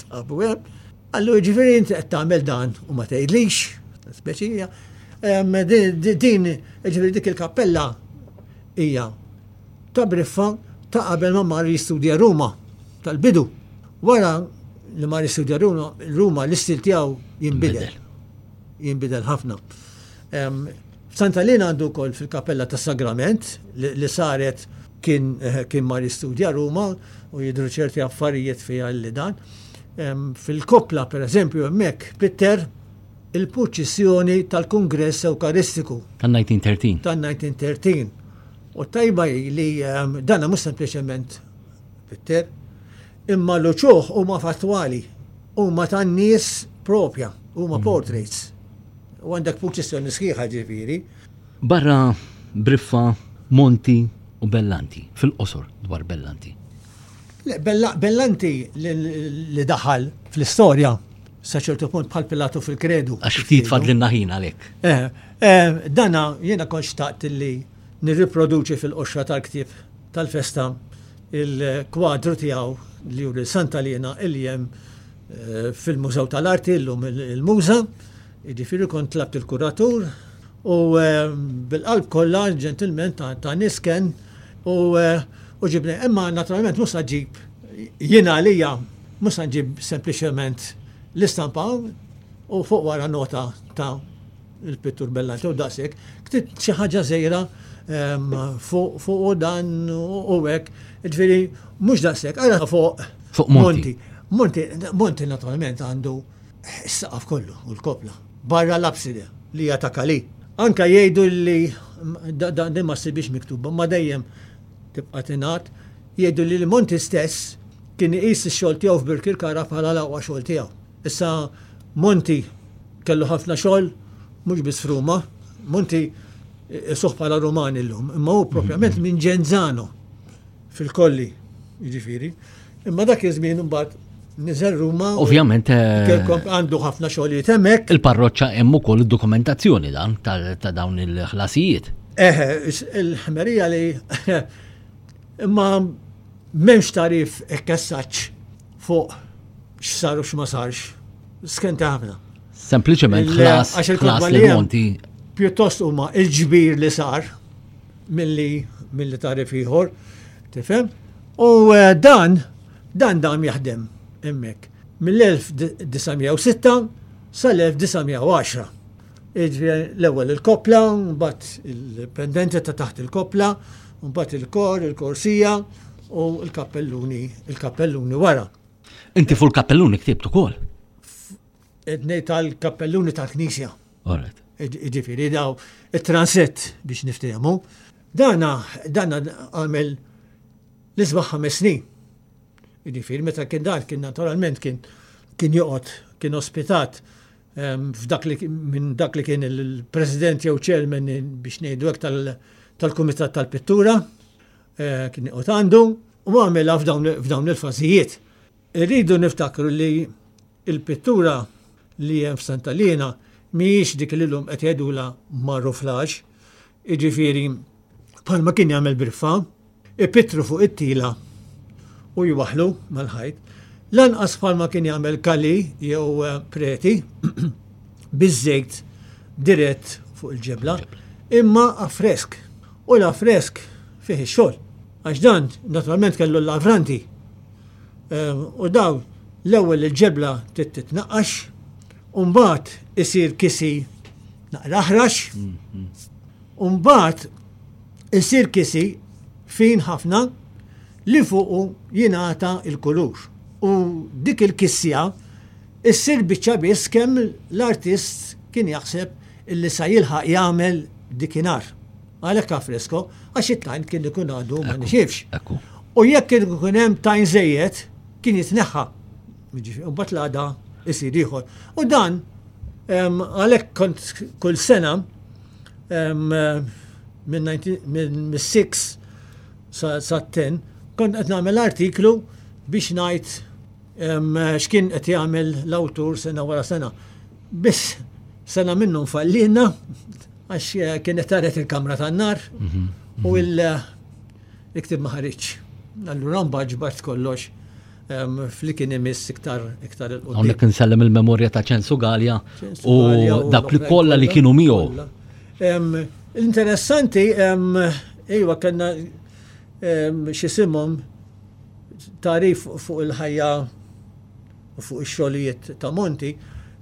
Sabu hemm. Qallu jiġifieri inti qed tagħmel dan u ma tgħidlix, speċija. Din, jiġifieri dik il-kappella hija ta' Briffa ta' qabel ma mar jistudja Ruma tal-bidu. Wara li mar jistudja Ruma l-istil tiegħu jinbidel. Jinbidel ħafna. F'Santa Lina għandu wkoll fil-Kappella tas-Sagrament li saret kien eh, kien mar jistudja Ruma u jidhru ċerti affarijiet fiha li dan. Fil-koppla pereżempju hemmhekk pitter il-purċissjoni tal-Kungress Ewkaristiku. Tan-1913. Tan-1913. U tajba li dana mhux sempliċement pitter, imma l-uċuħ huma fattwali, huma tan-nies propja, huma mm. portraits. U għandek purċissjoni sħiħa ġifieri. Barra Briffa, Monti u Bellanti, fil-qosor dwar Bellanti. Le, Bellanti li daħal fl-istorja sa ċertu punt bħal Pilatu fil-kredu. Għax ftit fadlinna ħin għalhekk. Eh, eh, dana jiena kont xtaqt li nirriproduċi fil-qoxra tal-ktieb tal-festa il-kwadru tiegħu li juri Santa Lina il hemm eh, fil-Mużew tal-Arti llum il-Muża, jiġifieri kont tlabt il-kuratur u eh, bil-qalb kollha ġentilment ta' nisken u eh, u ġibni. Imma naturalment mhux sa ġib jiena għalija mhux sa nġib sempliċement l-istampa u fuq wara nota ta' il-pittur Bellanti u daqshekk, ktibt xi ħaġa żgħira ehm, fuq u dan u hekk, ġifieri mhux daqshekk, ara fuq fuq Monti. Monti, Monti naturalment għandu s-saqaf kollu u l-kopla. Barra l-abside li hija ta' Kali. Anka jgħidu li dan ma ssibix miktuba, ma dejjem tibqa' tingħad, jgħidu li Monti stess kien iqis ix-xogħol tiegħu f'Birkirkara bħala l-aqwa xogħol tiegħu. Issa Monti kellu ħafna xogħol mhux biss f'Ruma, Monti isuh bħala Ruman illum, imma hu propjament minn Genzano fil-Kolli, jiġifieri. Imma dak iż-żmien imbagħad niżel Ruma. Ovvjament eh, għandu ħafna xogħlijiet hemmhekk. Il-parroċċa hemm ukoll id-dokumentazzjoni dan ta' dawn il-ħlasijiet. Eħe, il-ħmerija li imma m'hemmx tarif ekkessaċ fuq x'sar u x'ma sarx. Skenta ħafna. Sempliċement ħlas ħlas li monti. Pjuttost huma il-ġbir li sar milli milli tarif ieħor, tifhem? U eh, dan dan dam jaħdem hemmhekk mill-1906 sal-1910. Jiġifieri l-ewwel il-koppla, mbagħad il-pendenti ta' taħt il-koppla, mbagħad il-kor, il-korsija u l-kappelluni, il-kappelluni wara. Inti fuq il-kappelluni ktibt ukoll? Qed ngħid tal-kappelluni tal-knisja. Alright. Jiġifieri daw it-transett biex niftehmu. Dana dana għamel l-isbaħ ħames snin. Jiġifieri meta kien dan kien naturalment kien kien joqgħod kien ospitat ehm, f'dak li minn dak li kien il-president jew chairman biex ngħidu hekk tal-kumitat tal-pittura eh, kien joqgħod għandu u għamilha f'dawn il-fażijiet. Irridu niftakru li il-pittura li hemm f'Santa Liena mhijiex dik li llum qed jgħidulha maruflaġ, jiġifieri bħalma kien jagħmel Briffa, ipittru fuq it-tila u jwaħħlu mal-ħajt, lanqas bħalma kien jagħmel Kali jew eh, Preti biż-żejt dirett fuq il-ġebla, imma affresk. U l-affresk fih ix-xogħol. Għax dan naturalment kellu l-lavranti. Ehm, u daw l-ewwel il-ġebla trid titnaqqax, u mbagħad isir kisi naqra aħrax, u mbagħad isir kisi fin ħafna li fuqu jingħata il-kulur. U dik il-kisja issir biċċa biss kemm l-artist kien jaħseb illi sa jilħaq jagħmel dikinhar. Għalhekk affresko, għax it-tajn kien ikun għadu ma nixifx. U jekk kien ikun hemm tajn żejjed, kien jitneħħa. U mbagħad l-għada isir ieħor. U dan għalhekk kont kull sena minn 6 sa 10 kont qed nagħmel artiklu biex ngħid x'kien qed jagħmel l-awtur sena wara sena. Biss sena minnhom fallina Għax eh, kienet taret il-kamra tan-nar mhm, u mhm. il-iktib ma ħariġ. Allura mbagħad ġbart kollox fli kien imiss iktar iktar il-qudiem. Hawnhekk insellem il-memorja ta' Ċensu Galja u dak li kollha li kienu miegħu. Interessanti, iva kellna x'isimhom tarif fuq il-ħajja u fuq ix-xogħlijiet ta' Monti,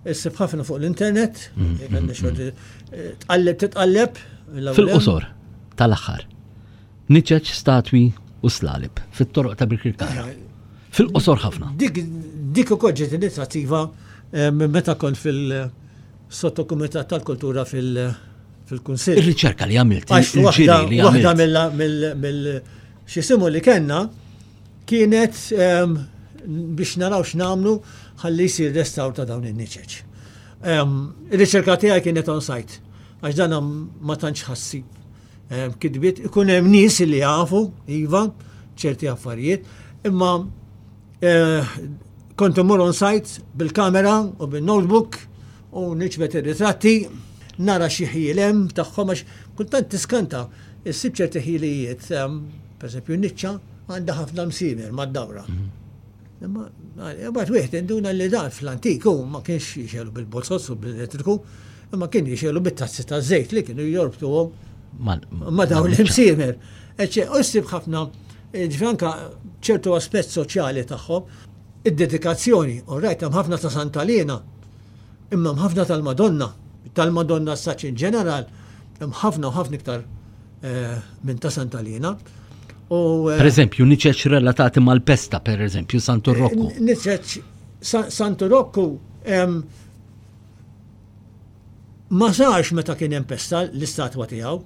issib ħafna fuq l-internet, mm, mm, mm. Eh, tqalleb titqalleb. Fil-qosor tal-aħħar. Niċeċ statwi u slalib fit-toroq ta' Birkirkara. Eh, fil-qosor ħafna. Dik dik ukoll ġiet inizjattiva eh, meta kont fil-sottokumitat tal-kultura fil- fil-kunsill. Ir-riċerka li għamilt, il-ġiri li għamilt. Waħda mill xisimu li kellna kienet ehm, biex naraw x'nagħmlu ħalli jsir restawr ta' dawn in-niċeċ. Ehm, ir-riċerka tiegħi kienet on site għax dan ma tantx ħassi ehm, kitbiet ikun hemm nies li jafu, iva, ċerti affarijiet, imma eh, kont imur on site bil-kamera u bil-notebook u niġbed ir-ritratti, nara xi ħjiel hemm tagħhom għax kultant tiskanta issib ċerti ħilijiet Per eżempju, niċċa għandha ħafna msiemer mad-dawra. Mhm. Imma mbagħad wieħed induna li dan fl-antik hu ma kienx jixelu bil-bozzozz u bil-elettriku, imma kien jixelu bit-tazzi ta' żejt li kienu jorbtuhom ma' dawn l-imsiemer. Eċċe, u ssib ħafna ġifieri ċertu aspett soċjali tagħhom, id-dedikazzjoni, u rajt hemm ħafna ta' Santa Liena, imma hemm ħafna tal-Madonna, tal-Madonna saċ in ġeneral, hemm ħafna u ħafna iktar Eh, minn ta' Santa Lina. U, eh, per eżempju, niċeċ relatati mal-pesta, per eżempju, Santu eh, Rocco. Niċeċ Santu Rocco ma sarx meta kien hemm pesta l-istatwa tiegħu.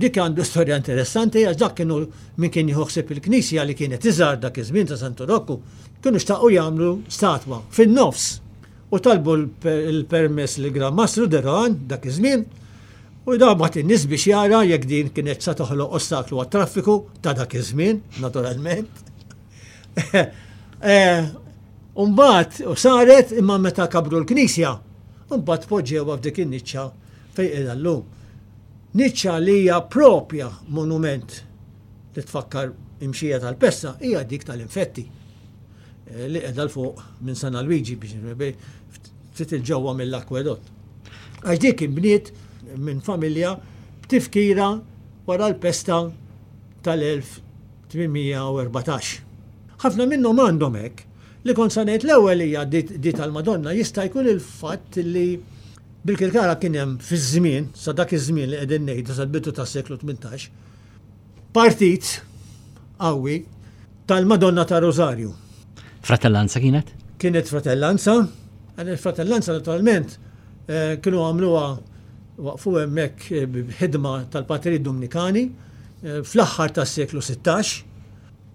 Dik għandu storja interessanti għax dak kienu min kien jieħu ħsieb il-knisja li kienet iżgħar dak iż-żmien ta' Santu Rocco, kienu xtaqu jagħmlu statwa fin-nofs u talbu l-permess li Gran Mastru Deroan dak iż-żmien U da bagħat in-nies biex jara jekk din kienet sa toħloq ostaklu għat-traffiku ta' dak iż-żmien, naturalment. Eh, Umbagħad u saret imma meta kabru l-knisja, mbagħad poġġewha f'dik in-niċċa fejn qiegħda llum. Niċċa li hija propja monument li tfakkar imxija tal-pesta hija dik tal-infetti eh, li qiegħda l fuq minn San Alwiġi biex ftit il-ġewwa mill-akwedott. Għax dik inbniet minn familja b'tifkira wara l-pesta tal-1814. Ħafna minnhom għandhom hekk. Li kont sa ngħid l-ewwel hija di tal-Madonna jista' jkun il-fatt li bil-Kirkara kien hemm fiż-żmien, sa dak iż-żmien li qegħdin ngħidu sal-bidu tas-seklu 18, partit qawwi tal-Madonna ta' Rosario. Fratellanza kienet? Kienet fratellanza. Il-fratellanza naturalment eh, kienu għamluha Waqfu hemmhekk b'ħidma tal-Patrijiet Dumnikani fl-aħħar tas-seklu 16.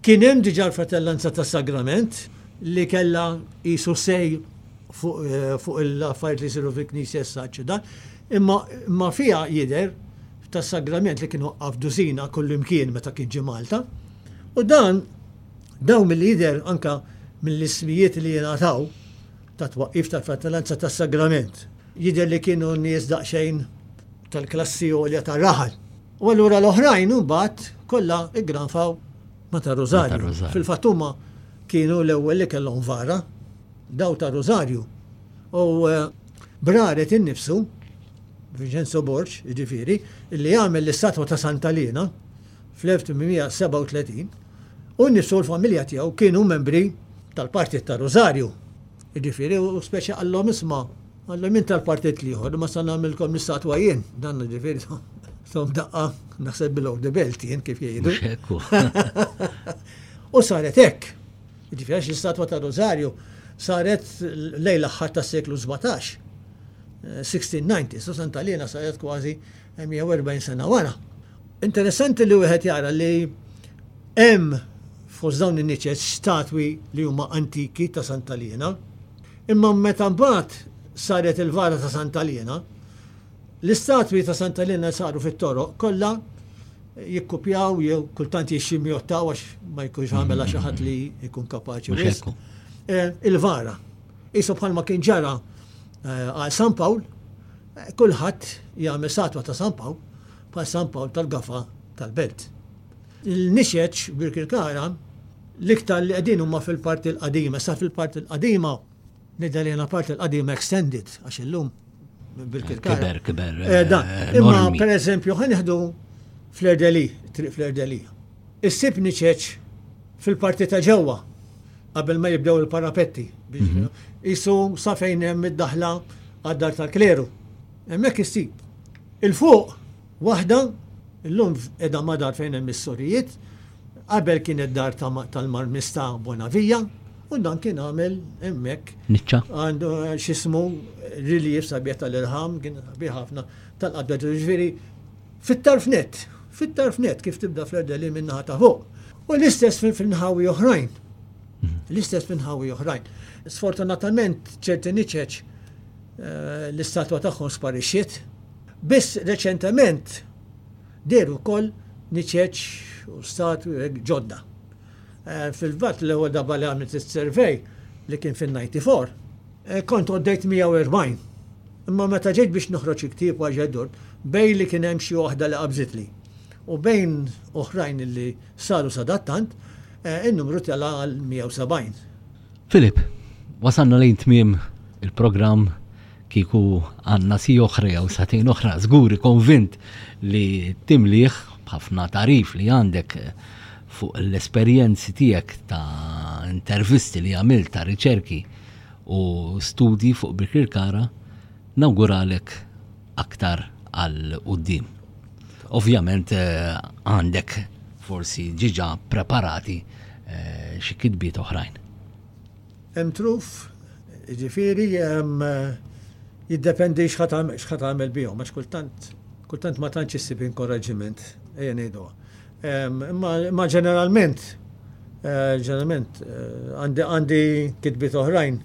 Kien hemm diġà l-Fratellanza tas-Sagrament li kellha qisu say fuq l-affarijiet li jsiru fil-knisja issa u dan, imma imma fiha jidher tas-Sagrament li kien waqqaf dużina kullimkien meta kien ġie Malta. U dan dawn milli jidher anke mill-ismijiet li jingħataw ta' twaqqif tal-Fratellanza tas-Sagrament. Jidher li kienu nies daqsxejn tal-klassi għolja tar-raħal. U allura l-oħrajn imbagħad kollha iggranfaw ma' tar-Rużarju. Fil-fatt huma kienu l-ewwel li kellhom vara, daw tar-Rużarju. U eh, Braret innifsu, Vincenzo Borg, jiġifieri, li għamel l-istatwa ta' Santa Liena fl-1837, u nnifsu l-familja tiegħu kienu membri tal-Partit tar-Rużarju. Jiġifieri, u speċi qallhom isma' qallhom jien tal-partit l-ieħor, imma sa nagħmilkom l-istatwa jien. Dan jiġifieri tom daqqa naħseb below the belt jien kif jgħidu. U saret hekk. Jiġifieri għax l-istatwa ta' Rosario saret lejn l-aħħar tas-seklu 17. 1690, so Santa Liena saret kważi 140 sena wara. Interessanti li wieħed jara li hemm fost dawn in-niċeċ statwi li huma antiki ta' Santa Liena, imma meta mbagħad saret il-vara ta' Santa Liena, l-istatwi ta' Santa Liena saru fit-toroq kollha jikkupjaw jew kultant jixximjottaw għax ma jkunx għamela xi ħadd li jkun kapaċi wisq. Eh, il-vara. Isu bħalma kien ġara eh, għal San Pawl, eh, kulħadd jagħmel statwa ta' San Pawl bħal San Pawl tal-Gafa tal-Belt. Il-nixeċ Birkirkara l-iktar li qegħdin huma fil-parti l-qadima, sa fil-parti l-qadima nidher li parti l-qadima extended għax illum Birkirkara. Kiber, kiber. Eh, dan. Eh, Imma per eżempju ħa nieħdu Fleur-de-Lis, triq Fleur-de-Lis. Issib niċeċ fil-parti ta' ġewwa qabel ma jibdew il-parapetti. Mhm. Isu sa fejn hemm id-daħla għad-dar tal-kleru. Hemmhekk issib. Il-fuq waħda illum qiegħda ma' dar fejn hemm is-sorijiet, qabel kienet dar tal-marmista Bonavija, u dan kien għamel hemmhekk. Niċċa. Għandu eh, x'ismu relief sabiħ tal-irħam, kien sabiħ ħafna tal-qabda ġifieri fit-tarf net, fit-tarf net kif tibda fl-erdeli min-naħa ta' fuq. U l-istess fil-nħawi oħrajn. Mhm. L-istess fil-nħawi oħrajn. Sfortunatament ċerti niċeċ eh, l-istatwa tagħhom sparixxiet. Biss reċentement dehru wkoll niċeċ u statwi ġodda. Eh, fil-fatt l-ewwel darba li għamilt is-survey li kien fin-94, eh, kont għoddejt 140. Imma meta ġejt biex noħroġ il-ktieb u ġejt bejn li kien hemm xi waħda li qabżitli u bejn oħrajn li saru sadattant, eh, in-numru tela għal 170. Filip, wasalna lejn tmiem il-programm Kieku għandna siegħa oħra jew sagħtejn oħra, żgur konvint li timlih b'ħafna tagħrif li għandek fuq l-esperjenzi tiegħek ta' intervisti li għamilt ta' riċerki u studji fuq Birkirkara, nawguralek aktar għal quddiem. Ovvjament eh, għandek forsi ġiġa preparati eh, xi kitbiet oħrajn. Hemm truf, jiġifieri jiddependi x'ħa tagħmel bihom għax kultant kultant ma tantx issib inkoraġġiment, ejja ngħiduha. Imma ġeneralment eh, ġeneralment eh, għandi għandi kitbiet oħrajn,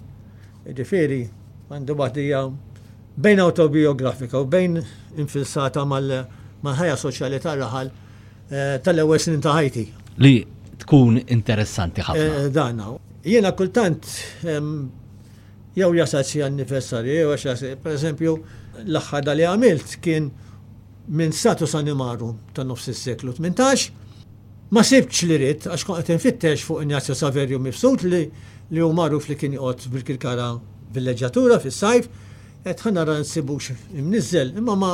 jiġifieri għandi waħda bejn autobiografika u bejn infilsata mal-ħajja soċjali tar-raħal eh, tal-ewwel snin ta' ħajti. Li tkun interessanti ħafna. Dan, Jiena kultant jew jasal xi anniversarju jew għax pereżempju l-aħħar da li għamilt kien minn status animarum ta' nofs is-seklu 18 ma sibtx li ridt għax kont qed infittex fuq Ignazio Saverio Mifsud li li hu magħruf li kien joqgħod bil-Kirkara villeġġatura fis-sajf qed ħa nara nsibux imniżżel imma ma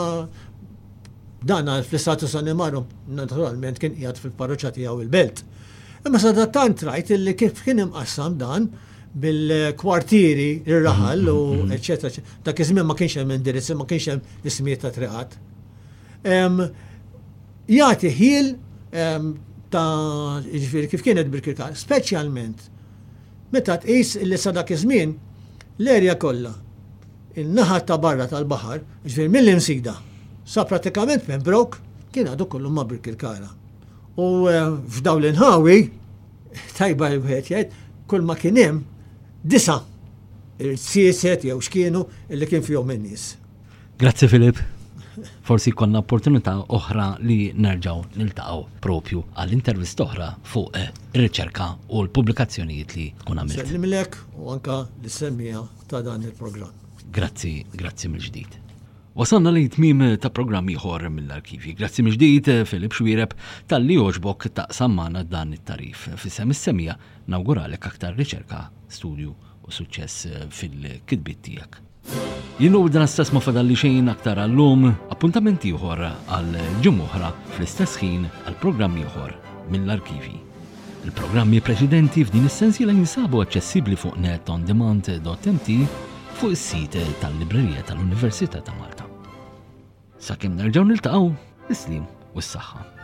Dan fl-istatus animarum naturalment kien qiegħed fil-parroċċa tiegħu il-Belt. Imma sadattant rajt illi kif kien imqassam dan bil-kwartieri ir-raħal u mm-hmm. eċetera. Dak iż-żmien ma kienx hemm indirizzi, ma kienx hemm ismijiet ta' triqat. Jagħti ħiel ta' jiġifieri kif kienet bil-kirkar, speċjalment meta tqis illi sa dak iż-żmien l-erja kollha in-naħa ta' barra tal-baħar, jiġifieri mill-Imsida. Sa pratikament Pembroke kien għadu kollu ma' Birkirkara. U eh, f'dawn l-inħawi, tajba wieħed jgħid, kull ma kien hemm disa' irtsieset jew x'kienu illi kien fihom in-nies. Grazzi Filip. Forsi jkollna opportunità oħra li nerġgħu niltaqgħu propju għal intervista oħra fuq eh, ir-riċerka u l-pubblikazzjonijiet li tkun għamilt. Sellimlek u anka l-semmija ta' dan il-programm. Grazzi, grazzi mill-ġdid. Wasalna lejn tmiem ta' programm ieħor mill-arkivji. Grazzi mill-ġdid Filip Xwireb talli għoġbok taqsam magħna dan it-tagħrif. F'isem is-semija nawguralek aktar riċerka, studju u suċċess fil-kitbiet tiegħek. Jien u dan stess ma fadalli xejn aktar għallum, appuntament ieħor għal ġimgħa oħra fl-istess ħin għal programm ieħor mill-arkivji. Il-programmi preċedenti f'din is-sensiela jinsabu aċċessibbli fuq netondemand.mt fuq is-sit tal-Librerija tal-Università ta' Malta. Sakemm nerġgħu niltaqgħu, is-slim u s-saħħa.